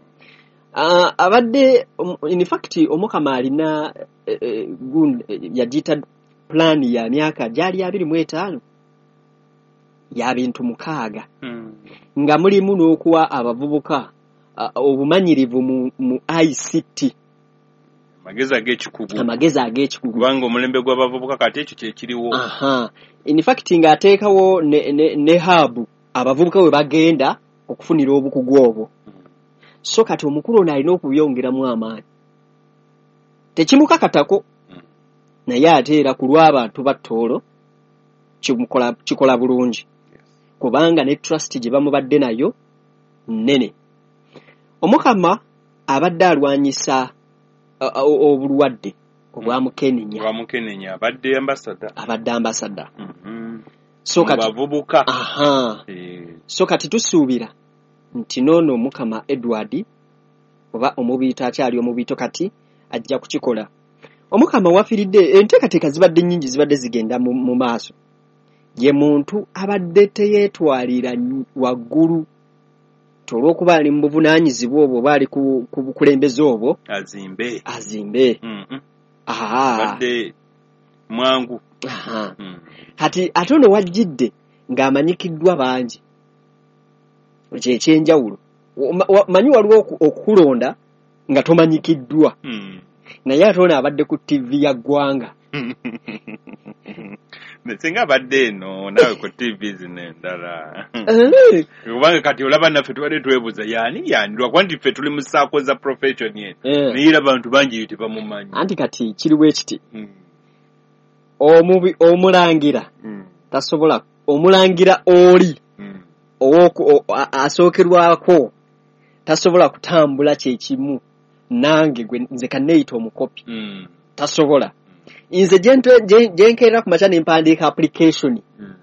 Ah, abadde, um, in fact Omukama alina, eh, eh, gun-, eh, yagiyita plan ya myaka gyali abiri mu etaano ya bintu mukaaga. Mm. Nga mulimu n'okuwa abavubuka, ah, obumanyirivu mu, mu I C T. Amagezi ag'ekikugu. Amagezi ag'ekikugu. Kubanga omulembe gw'abavubuka kati ekyo kye kiriwo. Aha. In fact ng'ateekawo ne, ne, ne hub abavubuka we bagenda okufunira obukugu obwo. So kati omukulu ono alina okubyongeramu amaanyi. Tekimukakatako. Mm. Naye ate era ku lw'abantu ba Tooro kimukola, kikola bulungi. Yes. Kubanga ne trust gye bamubadde nayo nnene. Omukama abadde alwanyisa, a, a, obulwadde obwa Mukenenya. Obwa Mukenenya, abadde ambassador. Abadde ambassador. Mm-hmm. So Mu kati bavubuka. Aha. Eh. So kati tusuubira nti n'ono Omukama Edward oba omubiito akyali omubiito kati ajja kukikola. Omukama wafiiridde, enteekateeka zibadde nnyingi zibadde zigenda mu, mu maaso. Ye muntu abadde teyeetwalira nny-, waggulu olw'okuba ali mu buvunaanyizibwa obwo oba ali ku, ku bukulembeze obwo. Azimbe. Azimbe. Mm-hmm. Aha. Abadde mwangu. Aha. Mm. Kati ate ono wajjidde ng'amanyikiddwa bangi. Ekyo eky'enjawulo. Wa-, wa-, manyi waliwo oku-, okukulonda nga tomanyikiddwa. Mm. Naye ate ono abadde ku T V ya ggwanga. Singa abadde eno naawe ku T V zino endala. Eh. Kubanga kati olaba naffe tubadde twebuuza yaani yaani, lwakuba nti ffe tuli mu ssaako za profession eno. Eh. Naye era abantu bangi eyo tebamumanyi. Anti kati kiri bwe kiti. Mm. Omubi, omulangira Mm. tasobola, omulangira oli Mm. ow'oku-, o-, a-, asookerwako tasobola kutambula kye kimu nange gwe nze kanneeyita omukopi. Mm. Tasobola. Nze gye ntwe-, gye, gye nkeerera ku makya ne mpandiika application. Mm.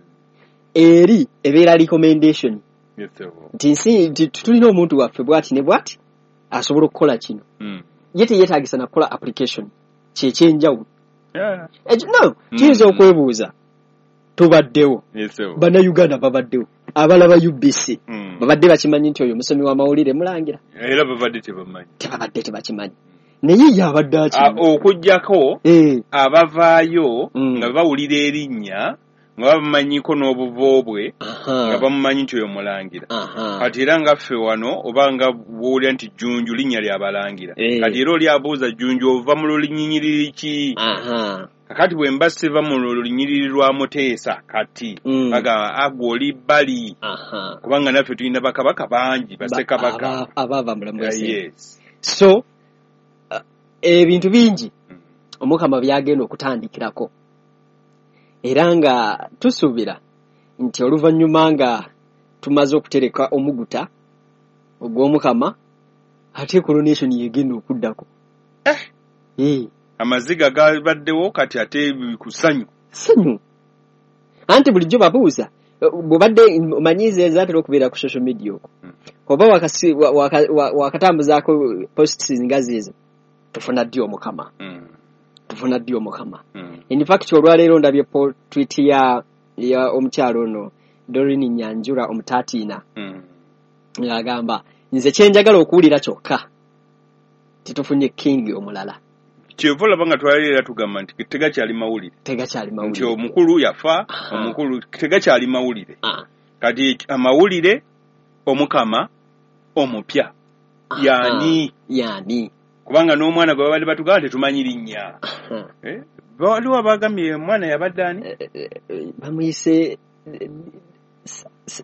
Eri ebeera recommendation. Yes, sir. Nti nsi, nti tulina omuntu waffe bw'ati ne bw'ati asobola okukola kino. Mm. Ye teyeetaagisa na kukola application. Kye ky'enjawulo. Yeah. Ekyo, no, Mm. kiyinza okwebuuza. Tubaddewo. Yes, sir. Bannayuganda babaddewo. Abalaba U B C. Mm. Babadde bakimanyi nti oyo musomi w'amawulire mulangira. Era babadde tebamanyi. Tebabadde tebakimanyi. Naye ye abadde akimanyi. Ah, okuggyako Eh. abavaayo Mm. nga bawulira erinnya nga bamumanyiko n'obuvo bwe, Aha. nga bamumanyi nti oyo mulangira. Aha. Kati era nga ffe wano oba nga bw'owulira nti Jjunju linnya ly'abalangira. Eh. Kati era oli abuuza Jjunju ova mu lulinyiriri ki? Aha. Kakati bwe mba siva mu lunyiriri lwa Muteesa kati, Mm. bagamba, agwo oli bbali. Aha. Kubanga naffe tulina bakabaka bangi, Ba- bassekabaka. aba-, abaava mu bulamu Yeah, bw'ensi. yes. So, uh, ebintu bingi Mm. Omukama by'agenda okutandikirako. Era nga tusuubira nti oluvannyuma nga tumaze okutereka omuguta ogw'Omukama, ate coronation yegenda okuddako. Eh. Eh. Amaziga gabaddewo kati ate ku ssanyu. Ssanyu. Anti bulijjo babuuza, bw'obadde omanyiiza ezaatera okubeera ku social media okwo. Mm. Oba wakasi-, wa-, waka-, wa-, wakatambuzaako posts nga ziizo, tufuna ddi Omukama? Mm. Tufuna ddi omukama? Mm. In fact olwaleero ndabye tweet ya ya omukyalo ono Doreen Nyanjura omutatina. Mm. Ng'agamba nze kyenjagala okuwulira kyokka titufunye king omulala. Kyova olaba nga twalira tugamba nti tegakyali mawulire. Tegakyali mawulire. Nti omukulu yafa, omukulu tegakyali mawulire. Kati amawulire omukama omupya. Yani yani. Kubanga n'omwana gwe babadde batugamba tetumanyi linnya. Eh? Waliwo abagambye omwana yabadde ani? Bamuyise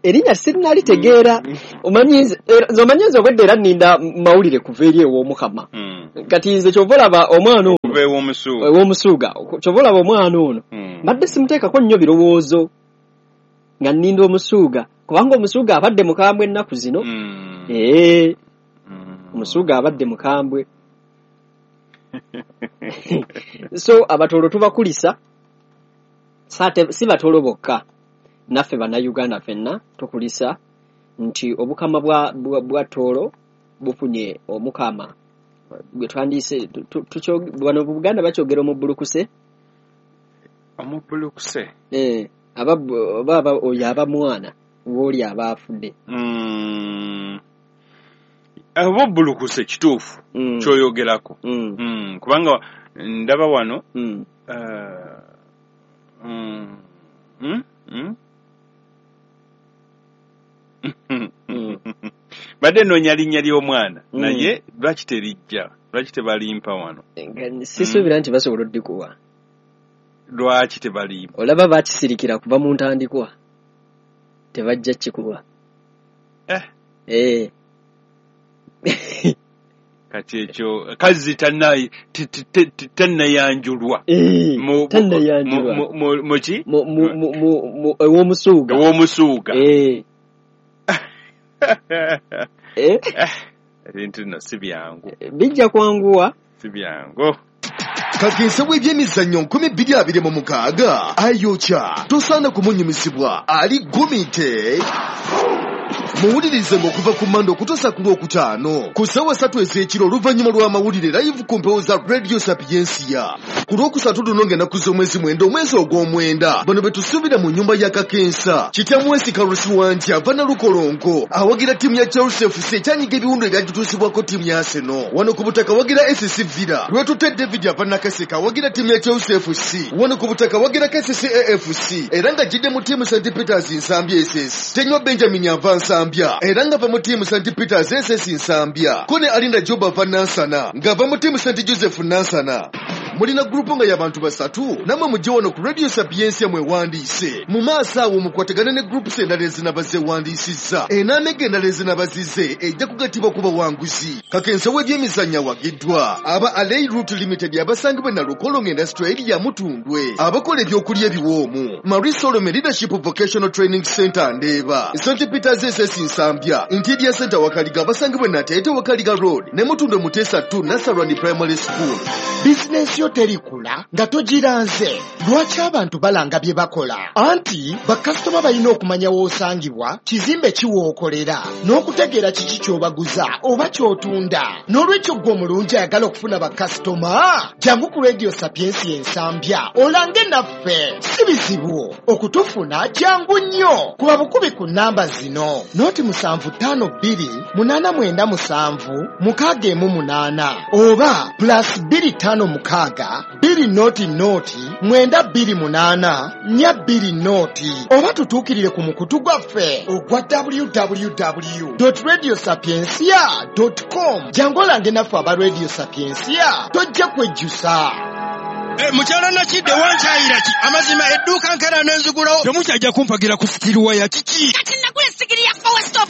erinnya sirinalitegeera. Omanyi nze nze obwedda era nninda mawulire kuva eri ew'omukama. Kati nze kyova olaba omwana ono ew'omusuuga, kyova olaba omwana ono mbadde simuteekako nnyo birowoozo nga nninda omusuuga, kubanga omusuuga abadde mukambwe ennaku zino. Ee, omusuuga abadde mukambwe. So abatolo tubakulisa, si batolo bokka, naffe bannayuganda ffenna tukulisa nti obukama bwa, bwa, bwa Tooro bufunye omukama gwe twandiyise wano mu Buganda bakyogera omubbulukuse. Omubbulukuse? Eh, aba oba oyo aba mwana w'oli aba afudde. Mm. Omubbulukuse kituufu mm. kyoyogerako. Mm. Mm. Kubanga ndaba wano mm. Uh, mm. Mm? Mm? Mm. Badde nnoonya linnya ly'omwana mm. naye lwaki terijja? Lwaki tebalimpa wano? Sisuubira nti basobola oddikuwa. Lwaki tebalimpa? Olaba bakisirikira kuva mu ntandikwa, tebajja kikuwa. Eh. Eh. Kati ekyo kazzi tannayanjulwa. Tannayanjulwa. Muki? Ew'omusuuga. Ew'omusuuga. Eh. Eh? Ebintu nno si byangu. Bijja kwanguwa. Si byangu. Kakensa w'ebyemizannyo nkumi bbiri abiri mu mukaaga ayokya tosaana kumunyumisibwa ali gumite. Muwulirize ng'okuva ku Mande okutuusa ku Lwokutaano ku ssaawa ssatu ez'ekiro oluvannyuma lw'amawulire live ku mpewo za Radio Sapiensia. Ku Lwokusatu luno ng'ennaku z'omwezi mwenda omwezi ogw'omwenda bano be tusuubira mu nnyumba ya Kakensa. Kitamwesi Kalusi Wangi ava Nalukolongo awagira ttiimu ya Chelsea F C ekyanyiga ebiwundu ebyagituusibwako ttiimu ya Arsenal. Wano ku butaka awagira S C Villa. Lwetutte David ava Nakaseka awagira ttiimu ya Chelsea F C. Wano ku butaka awagira K C C A F C era ng'ajjidde mu ttiimu Saint Peters Nsambya S S. Tenywa Benjamin ava Nsambya era ng'ava mu ttiimu Saint Peters S S Nsambya. Kone Alinda Job ava Nansana ng'ava mu ttiimu Saint Joseph Nansana. Mulina gurupu nga y'abantu basatu namwe mujje wano ku Radio Sapiensia mwewandiise. Mu maaso awo mukwatagane ne groups endala ezinaba zeewandiisizza. Enaamega endala ezinaba zize ejja kugattibwa ku bawanguzi. Kakensa w'ebyemizannyo awagiddwa aba Alei Route Limited abasangibwa e Nalukolongo Industrial Area Mutundwe, abakola ebyokulya ebiwoomu, Marie Solomon Leadership Vocational Training Center Ndeeba, Saint Peters S S Nsambya, Interior Center Wakaliga abasangibwa e Nateete Wakaliga Road ne Mutundwe Muteesa two Nasarani Primary School. Bizinensi yo terikula nga togiranze. Lwaki abantu balanga bye bakola? Anti bakasitoma balina okumanya w'osangibwa, kizimbe ki w'okolera, n'okutegeera kiki ky'obaguza oba ky'otunda. N'olwekyo ggwe omulungi ayagala okufuna bakasitoma, jangu ku Radio Sapiensia Ensambya olange naffe. Si bizibu okutufuna, jangu nnyo. Kuba bukubi ku nnamba zino: noti musanvu ttaano bbiri munaana mwenda musanvu mukaaga emu munaana oba plus bbiri ttaano mukaaga bbiri noti noti mwenda bbiri munaana nnya bbiri noti oba tutuukirire ku mukutu gwaffe ogwa w w w dot radio sapiensia dot com. Jangu olange naffe aba Radio Sapiensia, tojja kwejjusa. Eh, mukyala Nakidde wankyayira ki? Amazima edduuka nkera n'enzigulawo. Temukyajja kumpagira ku sitiruwa ya kiki? Kati nagula essigiri ya Power Stop.